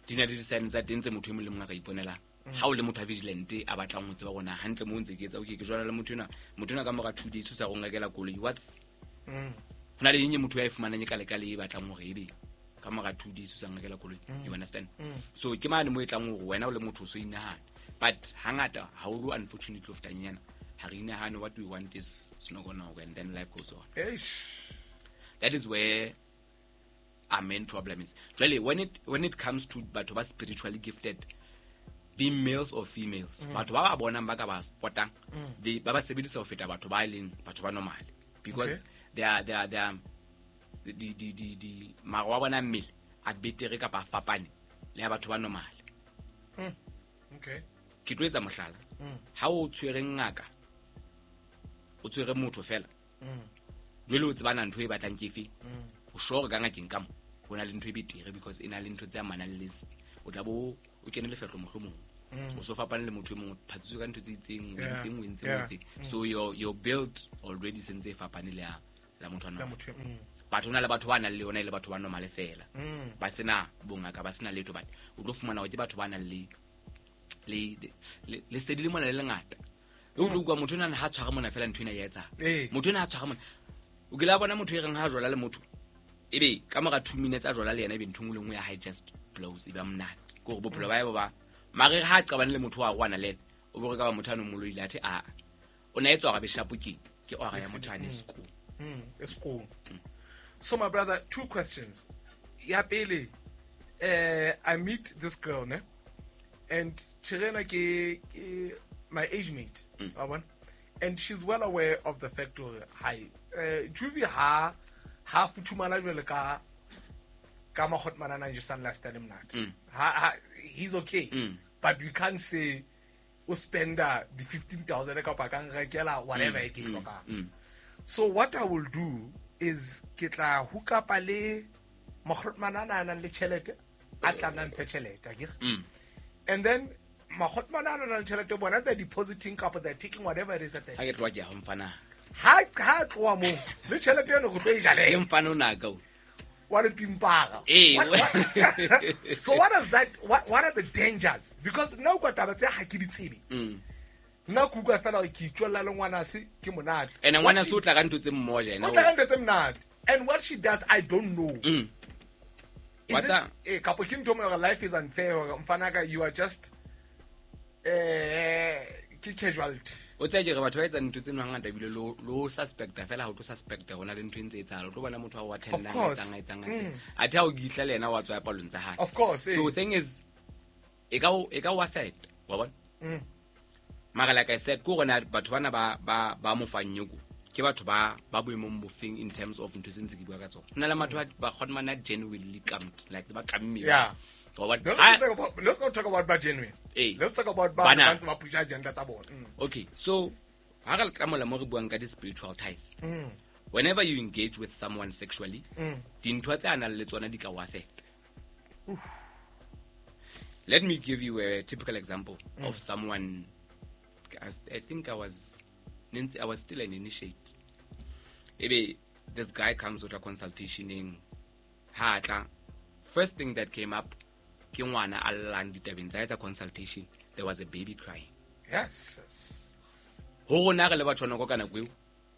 Speaker 2: di na le di-sign tsa teng tse motho e mong le mong a ka iponelang. Ha o le motho a vigilant a batlang ho tseba rona hantle mo ntse ke etsa okay ke jwala le motho ena ka mora 2 days o sa go ngakela koloi what's hona le eng motho ya e fumanang ka le ka le e batlang hore ebe ka mora 2 days o sa ngakela koloi you understand so ke mane mo e tlang hore wena o le motho o so inahana but hangata ha o lo unfortunately of tanyana ha re inahane what we want is snogonogo and then life goes on.
Speaker 1: Eish.
Speaker 2: That is where our main problem is. Really, when it comes to batho ba spiritually gifted, be males or females, batho ba ba bonang ba ka ba spotang, they ba ba sebedisa ho feta batho ba leng batho ba normal because they are di maro wa bona mmele a betere kapa a fapane le ya batho ba normal.
Speaker 1: Okay.
Speaker 2: Ke tlo etsa mohlala. Ha o tshwere ngaka, o tshwere motho fela. Jwale o tsebana ntho e batlang ke efe? O sure ka ngakeng ka mo ho na le ntho e betere because e na le ntho tse amanang le o tla bo o kene lefehlo mohlomong. O so fapane le motho e mong o phatsitswe ka ntho tse itseng, o entseng. So your build already sentse e fapane le ya motho wa normal. Batho na le batho ba nang le yona e le batho ba normal fela. Ba sena bongaka, ba sena letho, but o tlo fumana hore ke batho ba nang le lesedi le mona le lengata. O tlo utlwa motho ena ha tshwara mona fela ntho ena ya etsa. Motho ena ha tshwara mona. O ke la bona motho e reng ha jwala le motho. Ebe ka mora 2 minutes a jwala le yena ebe ntho nngwe le nngwe ya hae just blows e ba monate. Ke hore bophelo ba hae bo ba mare ha qabane le motho wa rwana le yena o bo re ka ba motho a no moloile athe a o na etswa ga beshapo ke ora ya motho a ne school.
Speaker 1: School. So my brother, 2 questions. Ya pele, I meet this girl ne and Chirena ke my age mate. And she's well aware of the fact of hi Juvie ha futhumala jwale ka makgotmana nang jesang lifestyle monate. Ha he's okay. But we can't say o spenda the 15,000 kapa ka nrekela whatever e ke hlokang. So what I will do is ke tla hook up le makgotmana a nang le tjhelete a tla nang phe tjhelete akere. And then makgotmana a nang le tjhelete bona they're depositing kapa they're taking whatever it is that they
Speaker 2: ha ke tloha ke ya ho mfana
Speaker 1: ha tloha mo le tjhelete eno go tlo e jale
Speaker 2: ke mfana o naka o
Speaker 1: wa le pimpara. So what is that, what are the dangers? Because nna o kwa taba tse ha ke di tsebe. Nna ke utlwa fela ke itswella le ngwana se ke monate.
Speaker 2: And ngwana se o tla ka ntho tse mmoja ena.
Speaker 1: O tla ka ntho tse monate. And what she does I don't know.
Speaker 2: What's that?
Speaker 1: Kapo ke ntho mo life is unfair mfanaka you are just ke casualty.
Speaker 2: O tsaya ke re batho ba etsa ntho tseno hangata ebile lo suspecta fela ha o tlo suspecta hona le ntho e ntse etsahala o tlo bona motho wa attendang etsang. Athe ha o gitla le yena wa tswa ya palong tsa hae.
Speaker 1: Of course.
Speaker 2: So thing is e ka o affect wa bona. Mara like I said ko rona batho bana ba mo fang nyoko ke batho ba boemong bofeng in terms of ntho tse ntse ke bua ka tsona. Hona le batho ba kgona genuinely kamt like ba kamme.
Speaker 1: Yeah. Let's not talk about bad genuine. Let's talk about bad ba push agenda tsa bona.
Speaker 2: Okay, so ha re tla mola mo re buang ka di spiritual ties. Whenever you engage with someone sexually, dintho tse anang le tsona di ka o affect. Let me give you a typical example of someone. I think I was still an initiate. Ebe this guy comes with a consultation in ha tla. First thing that came up ke ngwana a llang ditabeng tsa etsa consultation, there was a baby crying.
Speaker 1: Yes.
Speaker 2: Ho rona re le batho nako ka nako eo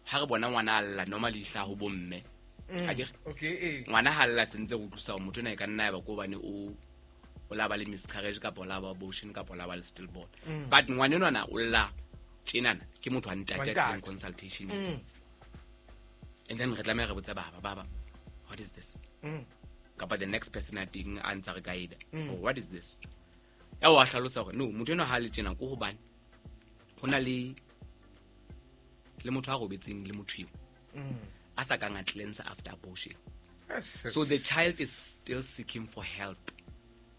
Speaker 2: ha re bona ngwana a lla normally hla ho bomme.
Speaker 1: Okay.
Speaker 2: Ngwana ha lla sentse go utlwisa motho ena e ka nna ya ba ko bane o la ba le miscarriage kapa la ba abortion kapa la ba le stillborn. But ngwana enwana o lla tjenana ke motho a ntate a tlileng consultation. And then re tlameha re botsa baba what is this? Kapa the next person a teng a ntsa re guide. Oh, what is this? Ya wa hlalosa hore no motho eno ha le tjena ko hobane hona le motho a robetseng le motho eo. A sa kang a cleanse after abortion.
Speaker 1: Yes.
Speaker 2: So the child is still seeking for help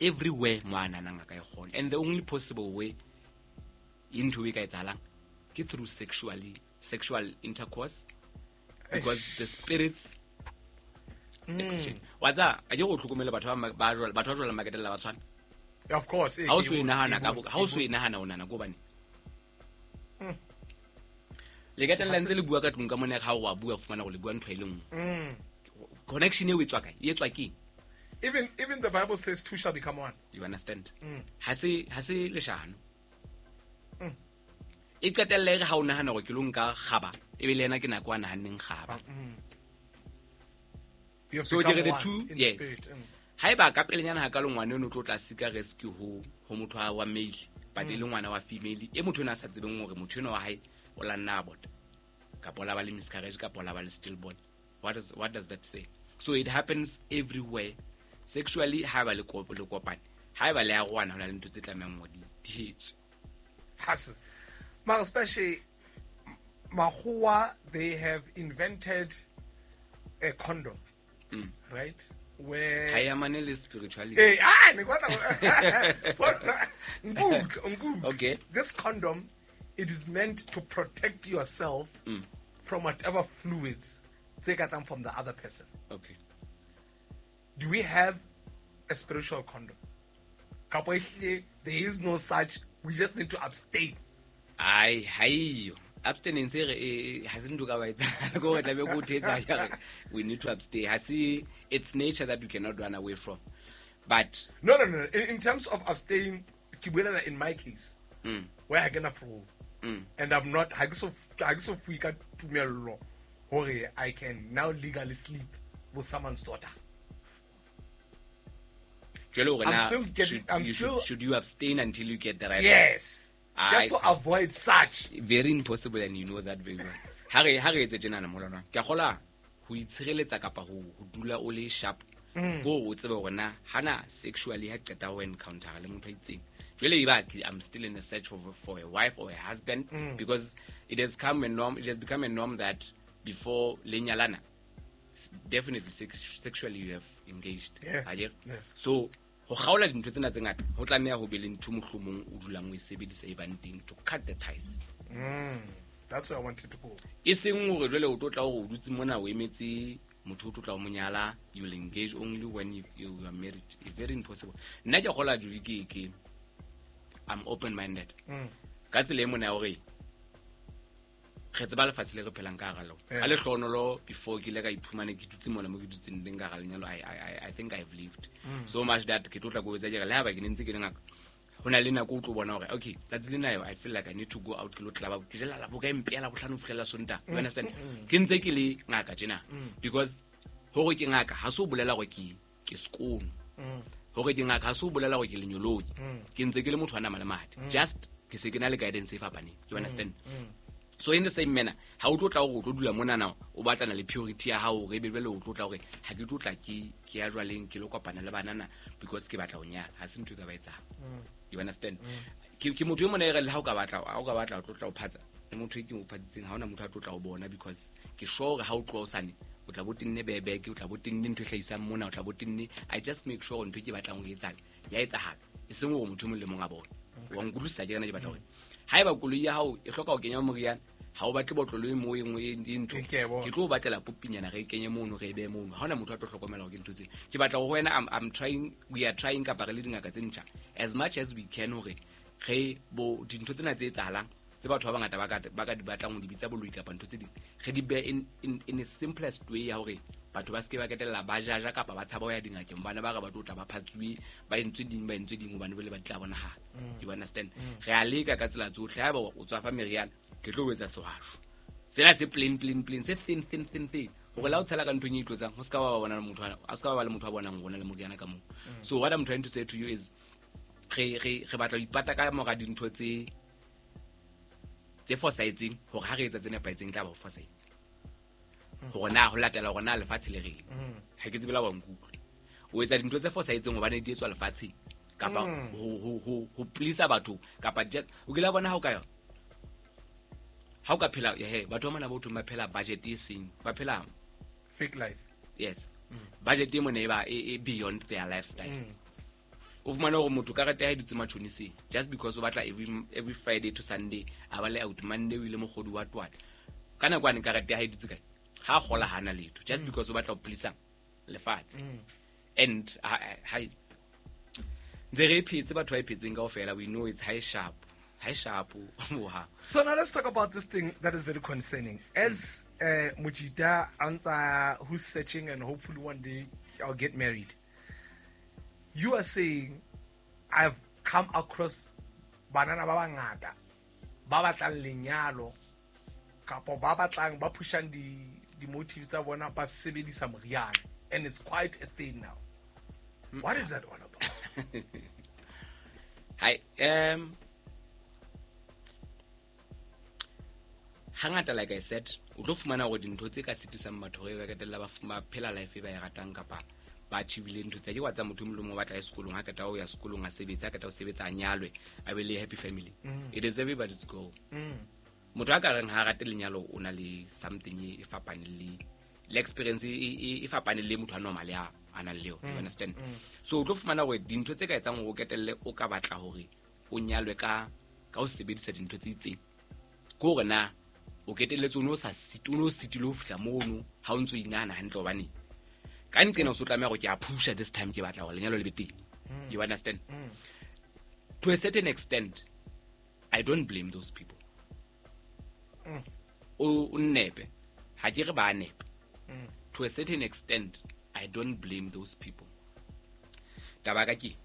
Speaker 2: everywhere ngwana nang a ka e kgona. And the only possible way into e ka etsahalang ke through sexual intercourse because the spirits exchange. Wa tsa a ke go tlhokomele batho ba batho ba jwala maketela ba tshwana.
Speaker 1: Of course.
Speaker 2: Ha o so e nahana ka ha o so e nahana o nana go bane. Le ka tella ntse le bua ka tlung ka mona ha o wa bua fumana go le bua ntho e le nngwe. Connection e o etswa kae? E etswa keng?
Speaker 1: Even the Bible says two shall become one.
Speaker 2: You understand? Ha se leshano. E qetelle re ha o nahana hore ke lo nka kgaba, e be le yena ke nako a nahanneng kgaba. So ke the two, yes. Haeba ka pelenyana ha ka lo ngwana eno tlo tla sika rescue ho motho wa male, but e le ngwana wa female, e motho ena a sa tsebeng hore motho eno wa hae o la nna abort. Kapa la ba le miscarriage, kapa la ba le stillborn. What does that say? So it happens everywhere. Sexually, ha ba le kopane, ha ba le a rwana hona le ntho tse tlamehang ho di etswe.
Speaker 1: Mara especially Makgowa, they have invented a condom, right? Where
Speaker 2: ha ya mane le spirituality.
Speaker 1: Eh, okay. This condom, it is meant to protect yourself from whatever fluids take out from the other person.
Speaker 2: Okay.
Speaker 1: Do we have a spiritual condom? There is no such. We just need to abstain.
Speaker 2: Ai, abstinence has ntho ka ba etsa go tla be go thetsa we need to abstain. Hasi, it's nature that we cannot run away from. But
Speaker 1: no. In terms of abstain, in my case, where I can afford, and I'm not ha ke so fuika tumello hore I can now legally sleep with someone's daughter.
Speaker 2: Should you abstain until you get the right?
Speaker 1: Yes. Just to avoid such.
Speaker 2: Very impossible, and you know that very well. Ha re etse tjena molwana. Ke a kgola ho itshireletsa kapa ho dula o le sharp. Go o tsebe hore na hana sexually ha qeta ho encounter le motho a itseng. Jwale e ba I'm still in the search for a wife or a husband, because it has come a norm, it has become a norm that before le nyalana, definitely sexually you have engaged.
Speaker 1: Yes. Yes.
Speaker 2: So ho kgaola dintho tsena tse ngata ho tlameha ho be le ntho mohlomong o dulang o e sebedisa e bang teng to cut the ties.
Speaker 1: That's where I wanted to go.
Speaker 2: E seng hore jwale o tlo tla hore o dutse mona o emetse motho o tlo tla o monyala, you will engage only when you are married. It's very impossible. Nna ke kgola juli ke I'm open minded. Ka tsela e mona hore re tseba lefatshe le re phelang ka hara lona. Ha le hlonolo before ke ile ka iphumana ke dutse mona mo ke dutseng teng ka hara lenyalo, I think I've lived so much that ke tlo tla go etsa ke re le ha ba ke ne ntse ke le ngaka ho na le nako o tlo bona hore okay tsatsi lena I feel like I need to go out ke lo tlaba ke jela la boka empela bohlano fihlela Sontaha. You understand? Ke ntse ke le ngaka tjena because hore ke ngaka ha se o bolela hore ke sekolo. Hore ke ngaka ha se o bolela hore ke lenyoloji. Ke ntse ke le motho wa nama le madi. Just ke se ke na le guidance e fapaneng. You understand? So in the same manner, ha o tlo tla hore o tlo dula mona na o batlana le purity ya hao hore ebe jwale o tlo tla hore ha ke tlo tla ke ya jwaleng ke lo kopana le banana because ke batla ho nyala. Ha se ntho e ka ba etsang. You understand? Ke motho e mona e re le ha o ka batla o tlo tla o phatsa. Le motho e ke mo phatsitseng ha ona motho a tlo tla o bona because ke sure hore ha o tloha o sane o tla bo tenne bebeke, o tla bo tenne ntho e hlahisang mona, o tla bo tenne. I just make sure ntho e ke batlang ho etsahala ya etsahala. E seng hore motho e mong le mong a bone. Wa nkutlwisisa ke rena ke batla hore haeba koloi ya hao e hloka ho kenya moriana, ha o batle botlolo e mo e nngwe e ntho, ke tlo o batlela popinyana re e kenye mono re e behe mono. Ha hona motho a tlo hlokomela hore ke ntho tsena. Ke batla hore ho wena I'm trying, we are trying kapa re le dingaka tse ntjha as much as we can hore re bo dintho tsena tse etsahalang tse batho ba bangata ba ka di batlang ho di bitsa boloi kapa ntho tse ding, re di behe in a simplest way ya hore batho ba se ke ba ketella ba jaja kapa ba tshaba ho ya dingakeng bana ba re ba tlo tla ba phatsuwe ba entswe ding hobane bole ba tla bonahala. You understand? Re a leka ka tsela tsohle. Haeba o tswa fa meriana ke tlo etsa sehwasho sena se plain se thin hore la o tshela ka nthong e itlotsang ho se ka ba bona le motho a se ka ba le motho a bonang rona le moriana ka moo. So what I'm trying to say to you is re batla ho ipata ka mora dintho tse fosahetseng hore ha re etsa tse nepahetseng tla ba ho fosahetse. Hore na ho latela hore na lefatshe le reng. Ha ke tsebe la wa nkutlwe. O etsa dintho tse fosahetseng hobane di etswa lefatsheng kapa ho please batho kapa o kile bona ha o ka ha o ka phela he batho ba mona ba thong ba phela budget e seng ba phela
Speaker 1: fake life.
Speaker 2: Yes. Budget e mona e ba e beyond their lifestyle. O fumana hore motho karete ya hae dutse matjhoniseng just because o batla every Friday to Sunday a ba le out Monday o ile mokgodi wa twala ka nako ane karete ya hae dutse kae ha kgola hana letho just because o batla ho please lefatshe. And ha ntse re phetse batho ba iphetseng kaofela, we know it's high sharp.
Speaker 1: So now let's talk about this thing that is very concerning. As Mujita Ansa, who's searching and hopefully one day I'll get married. You are saying I've come across banana ba bangata ba batlang lenyalo kapo ba batlang ba pushang di motives tsa bona ba sebedisa moriana, and it's quite a thing now. What is that all about?
Speaker 2: Hi, hangata, like I said, o tlo fumana hore dintho tse ka sitisang batho hore ba qetella ba phela life e ba e ratang kapa ba achievile ntho tsa ke wa tsa motho molomo o batla sekolong ha qeta ho ya sekolong a sebetsa, ha qeta ho sebetsa a nyalwe, a be le happy family. It is everybody's goal. Motho a ka reng ha rate lenyalo o na le something e fapaneng le experience e fapaneng le motho a normal ya a nang le yona, you understand? So o tlo fumana hore dintho tse ka etsang hore o ketelle o ka batla hore o nyalwe ka ho sebedisa dintho tse itseng, ke hore na o ketelletse o no sa o sitile ho fihla mono ha o ntso inahana hantle, hobane ka nqena o so tlameha hore ke a pusha this time, ke batla hore lenyalo le be teng. You understand? To a certain extent, I don't blame those people. O nnepe, ha ke re ba nepe. To a certain extent, I don't blame those people. Taba ka ke,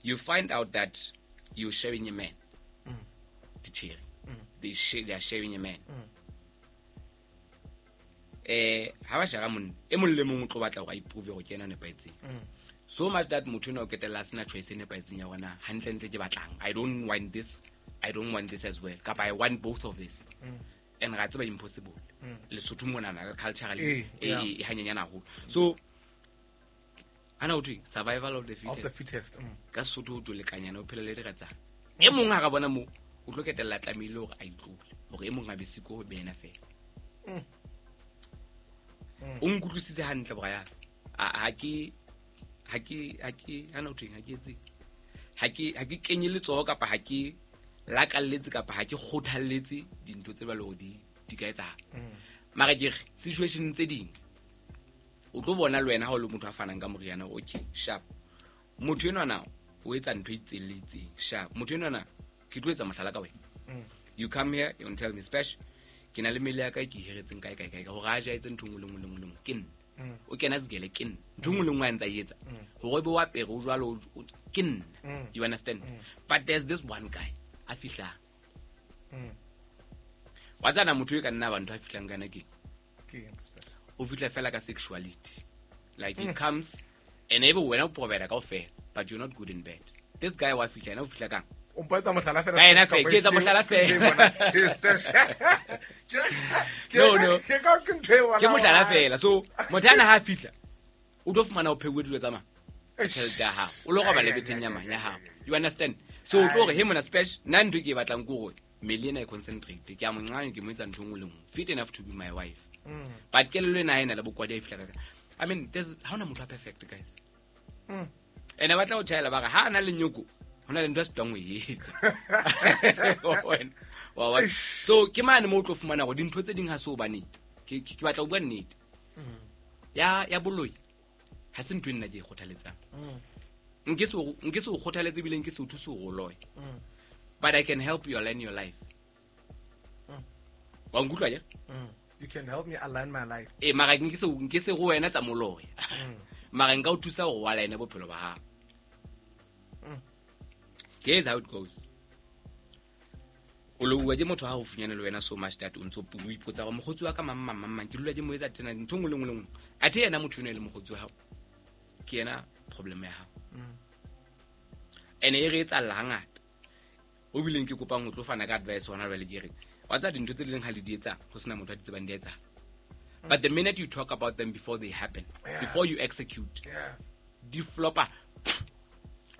Speaker 2: you find out that you're sharing a man. Teacher. They are sharing a man. Ha ba share monna, e mong le mong o tlo batla hore a iprove hore ke yena a nepahetseng. So much that motho enwa o ketella a sena choice e nepahetseng ya hore na hantlentle ke batlang. I don't want this, I don't want this as well. Kapa I want both of this. And ra tseba impossible. Lesotho monana culturally e hanyenyana haholo. So ana o thwe survival of the fittest.
Speaker 1: Of the fittest.
Speaker 2: Ka Sesotho o tolekanyana o phela le diratsana. E mong ha ra bona mo o tlo ketella tlamehile hore a itlole hore e mong a be siko ho be yena fela. O nkutlwisitse hantle bra. Ha ke ana o thweng, ha ke etse. Ha ke kenye letsoho kapa ha ke lakalletse kapa ha ke kgothalletse dintho tse jwalo di ka etsahala. Mara ke re situation tse ding o tlo bona le wena ha o le motho a fanang ka moriana, okay, sharp. Motho enwa na o etsa ntho e itseng le itseng, sharp. Motho enwa na ke tlo etsa mohlala ka wena. You come here, you tell me special, ke na le mmele ya ka ke hiretseng kae kae kae hore a ja etse ntho nngwe le nngwe le nngwe le nngwe, ke nna. O kena sekele ke nna. Ntho nngwe le nngwe a ntsa e etsa. Hore be wa pere o jwalo ke nna. You understand? But there's this one guy a fihlang. Wa tsana motho e ka nna ba ntho a fihlang kana ke. O fihla fela ka sexuality. Like he comes and ebe wena o provide kaofela, but you're not good in bed. This guy wa fihla ena o fihla kang?
Speaker 1: O mpatsa mohlala fela.
Speaker 2: Ka ena fela, ke etsa mohlala fela. No.
Speaker 1: Ke ka ke ntho e
Speaker 2: Ke mohlala fela. So motho ana ha fihla o tlo fumana o pheuwe dilo tsa mang? Tjhelete ya hao. O lo robala betheng ya mang ya hao. You understand? So o tlo hore he mona special nna ntho ke e batlang ke hore mmele ena e concentrate. Ke a mo nqanya ke mo etsa ntho e nngwe le nngwe. Fit enough to be my wife. But kelello ena ha ena le bokwadi ha e fihla ka. I mean, there's ha hona motho a perfect, guys. Ene batla ho tjhaela ba re ha ana le nyoko hona le ntho a sitwang ho e etsa. Wa. So ke mane mo o tlo fumana hore dintho tse ding ha se hobane ke batla ho bua nnete. Ya boloi ha se ntho e nna ke e kgothaletsang. Nke se o kgothaletse ebile nke se o thuse hore o loye. But I can help you align your life. Wa nkutlwa ja?
Speaker 1: You can help me align my life.
Speaker 2: Mara nke se go wena tsa moloya. Mara nka o thusa hore o align bophelo ba hao. Here's how it goes. O lo ke motho ha o funyane le wena so much that o ntso o ipotsa hore mokgotsi wa ka mang mang mang mang ke dula ke mo etsa tena ntho nngwe le nngwe le nngwe. Athe yena motho eno e le mokgotsi wa hao, ke yena problem ya hao. Ene e re etsalla hangata. O bileng ke kopang ho tlo fana ka advice hona jwale ke re wa tsa dintho tse leng ha le di etsa ho sena motho a di tsebang di etsa. But the minute you talk about them before they happen, before you execute, di flopa.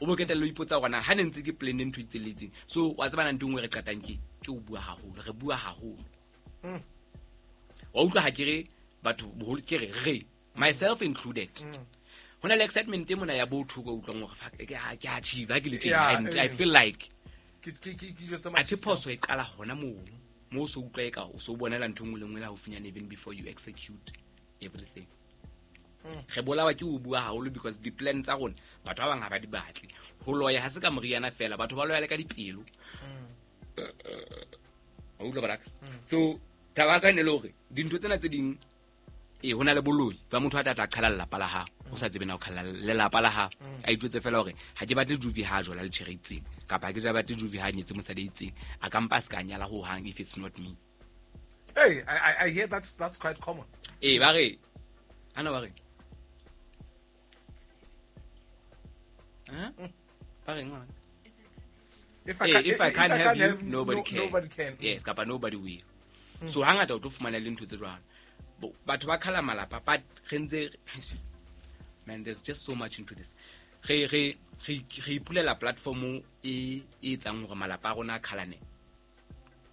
Speaker 2: O bo ketella o ipotsa hore na ha ne ntse ke plan ntho e itseng. So wa tsebana ntho nngwe re qetang ke o bua haholo, re bua haholo. Wa utlwa ha ke re batho boholo ke re myself included. Hona le excitement e mona ya botho go utlwang hore fuck ke achieve ha ke le tjena, I feel like
Speaker 1: ke
Speaker 2: athe phoso e qala hona moo mo so utlwa e ka o so bonela ntho nngwe le nngwe la haufinyane even before you execute everything. Re bolawa ke o bua haholo because di plan tsa rona batho ba bang ha ba di batle. Ho loya ha se ka moriana fela, batho ba loya le ka dipelo. Wa utlwa baraka? So taba ka ne le hore dintho tsena tse ding Ee, ho na le boloi ba motho a tla tla qhala lelapa la hao, o sa tsebe na o qhala lelapa la hao. A itjwetse fela hore ha ke batle Juvi ha jola le tjhere itseng, kapa ha ke batle Juvi ha nyetse mosadi a itseng, a ka mpa a se ka nyala ho hang if it's not me.
Speaker 1: Hey, I hear that's quite common.
Speaker 2: Ee, ba re ana ba re ba reng ngwana?
Speaker 1: If I
Speaker 2: can't have you, nobody can.
Speaker 1: Nobody can.
Speaker 2: Yes, kapa nobody will. So hangata o tlo fumana le ntho tse jwalo. Batho ba khala malapa, but re ntse, man, there's just so much into this. Re ipulela platform e etsang hore malapa a rona a khalane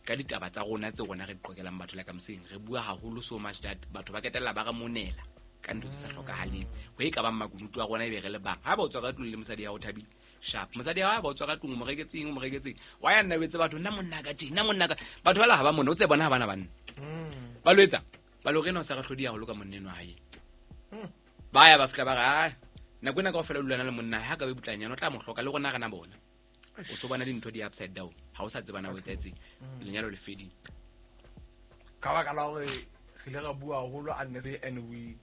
Speaker 2: ka ditaba tsa rona tse rona re di qokelang batho, like I'm saying, re bua haholo so much that batho ba ketella ba re monela ka ntho tse sa hlokahaleng. Ho e ka bang makunutu a rona e be re le bang. Ha ba o tswa ka tlung le mosadi ya o thabile, sharp. Mosadi ya ba o tswa ka tlung, o mo reketseng, o mo reketseng. Wa ya nna o etse batho, nna monna ka tje, nna monna ka. Batho ba la ha ba mona, o tse bona ha bana banna. Ba lo etsa, ba lo rena o sa re hlodi haholo ka monna enwa hae. Ba ya ba fihla ba re, "Ai, nako ena kaofela o dulana le monna ha ka be butlanyana, o tla mo hloka le rona re na bona." O so bona dintho di upside down, ha o sa tseba na o etsahetseng. Lenyalo le fedile.
Speaker 1: Ka baka la hore re ile ra bua haholo unnecessary and we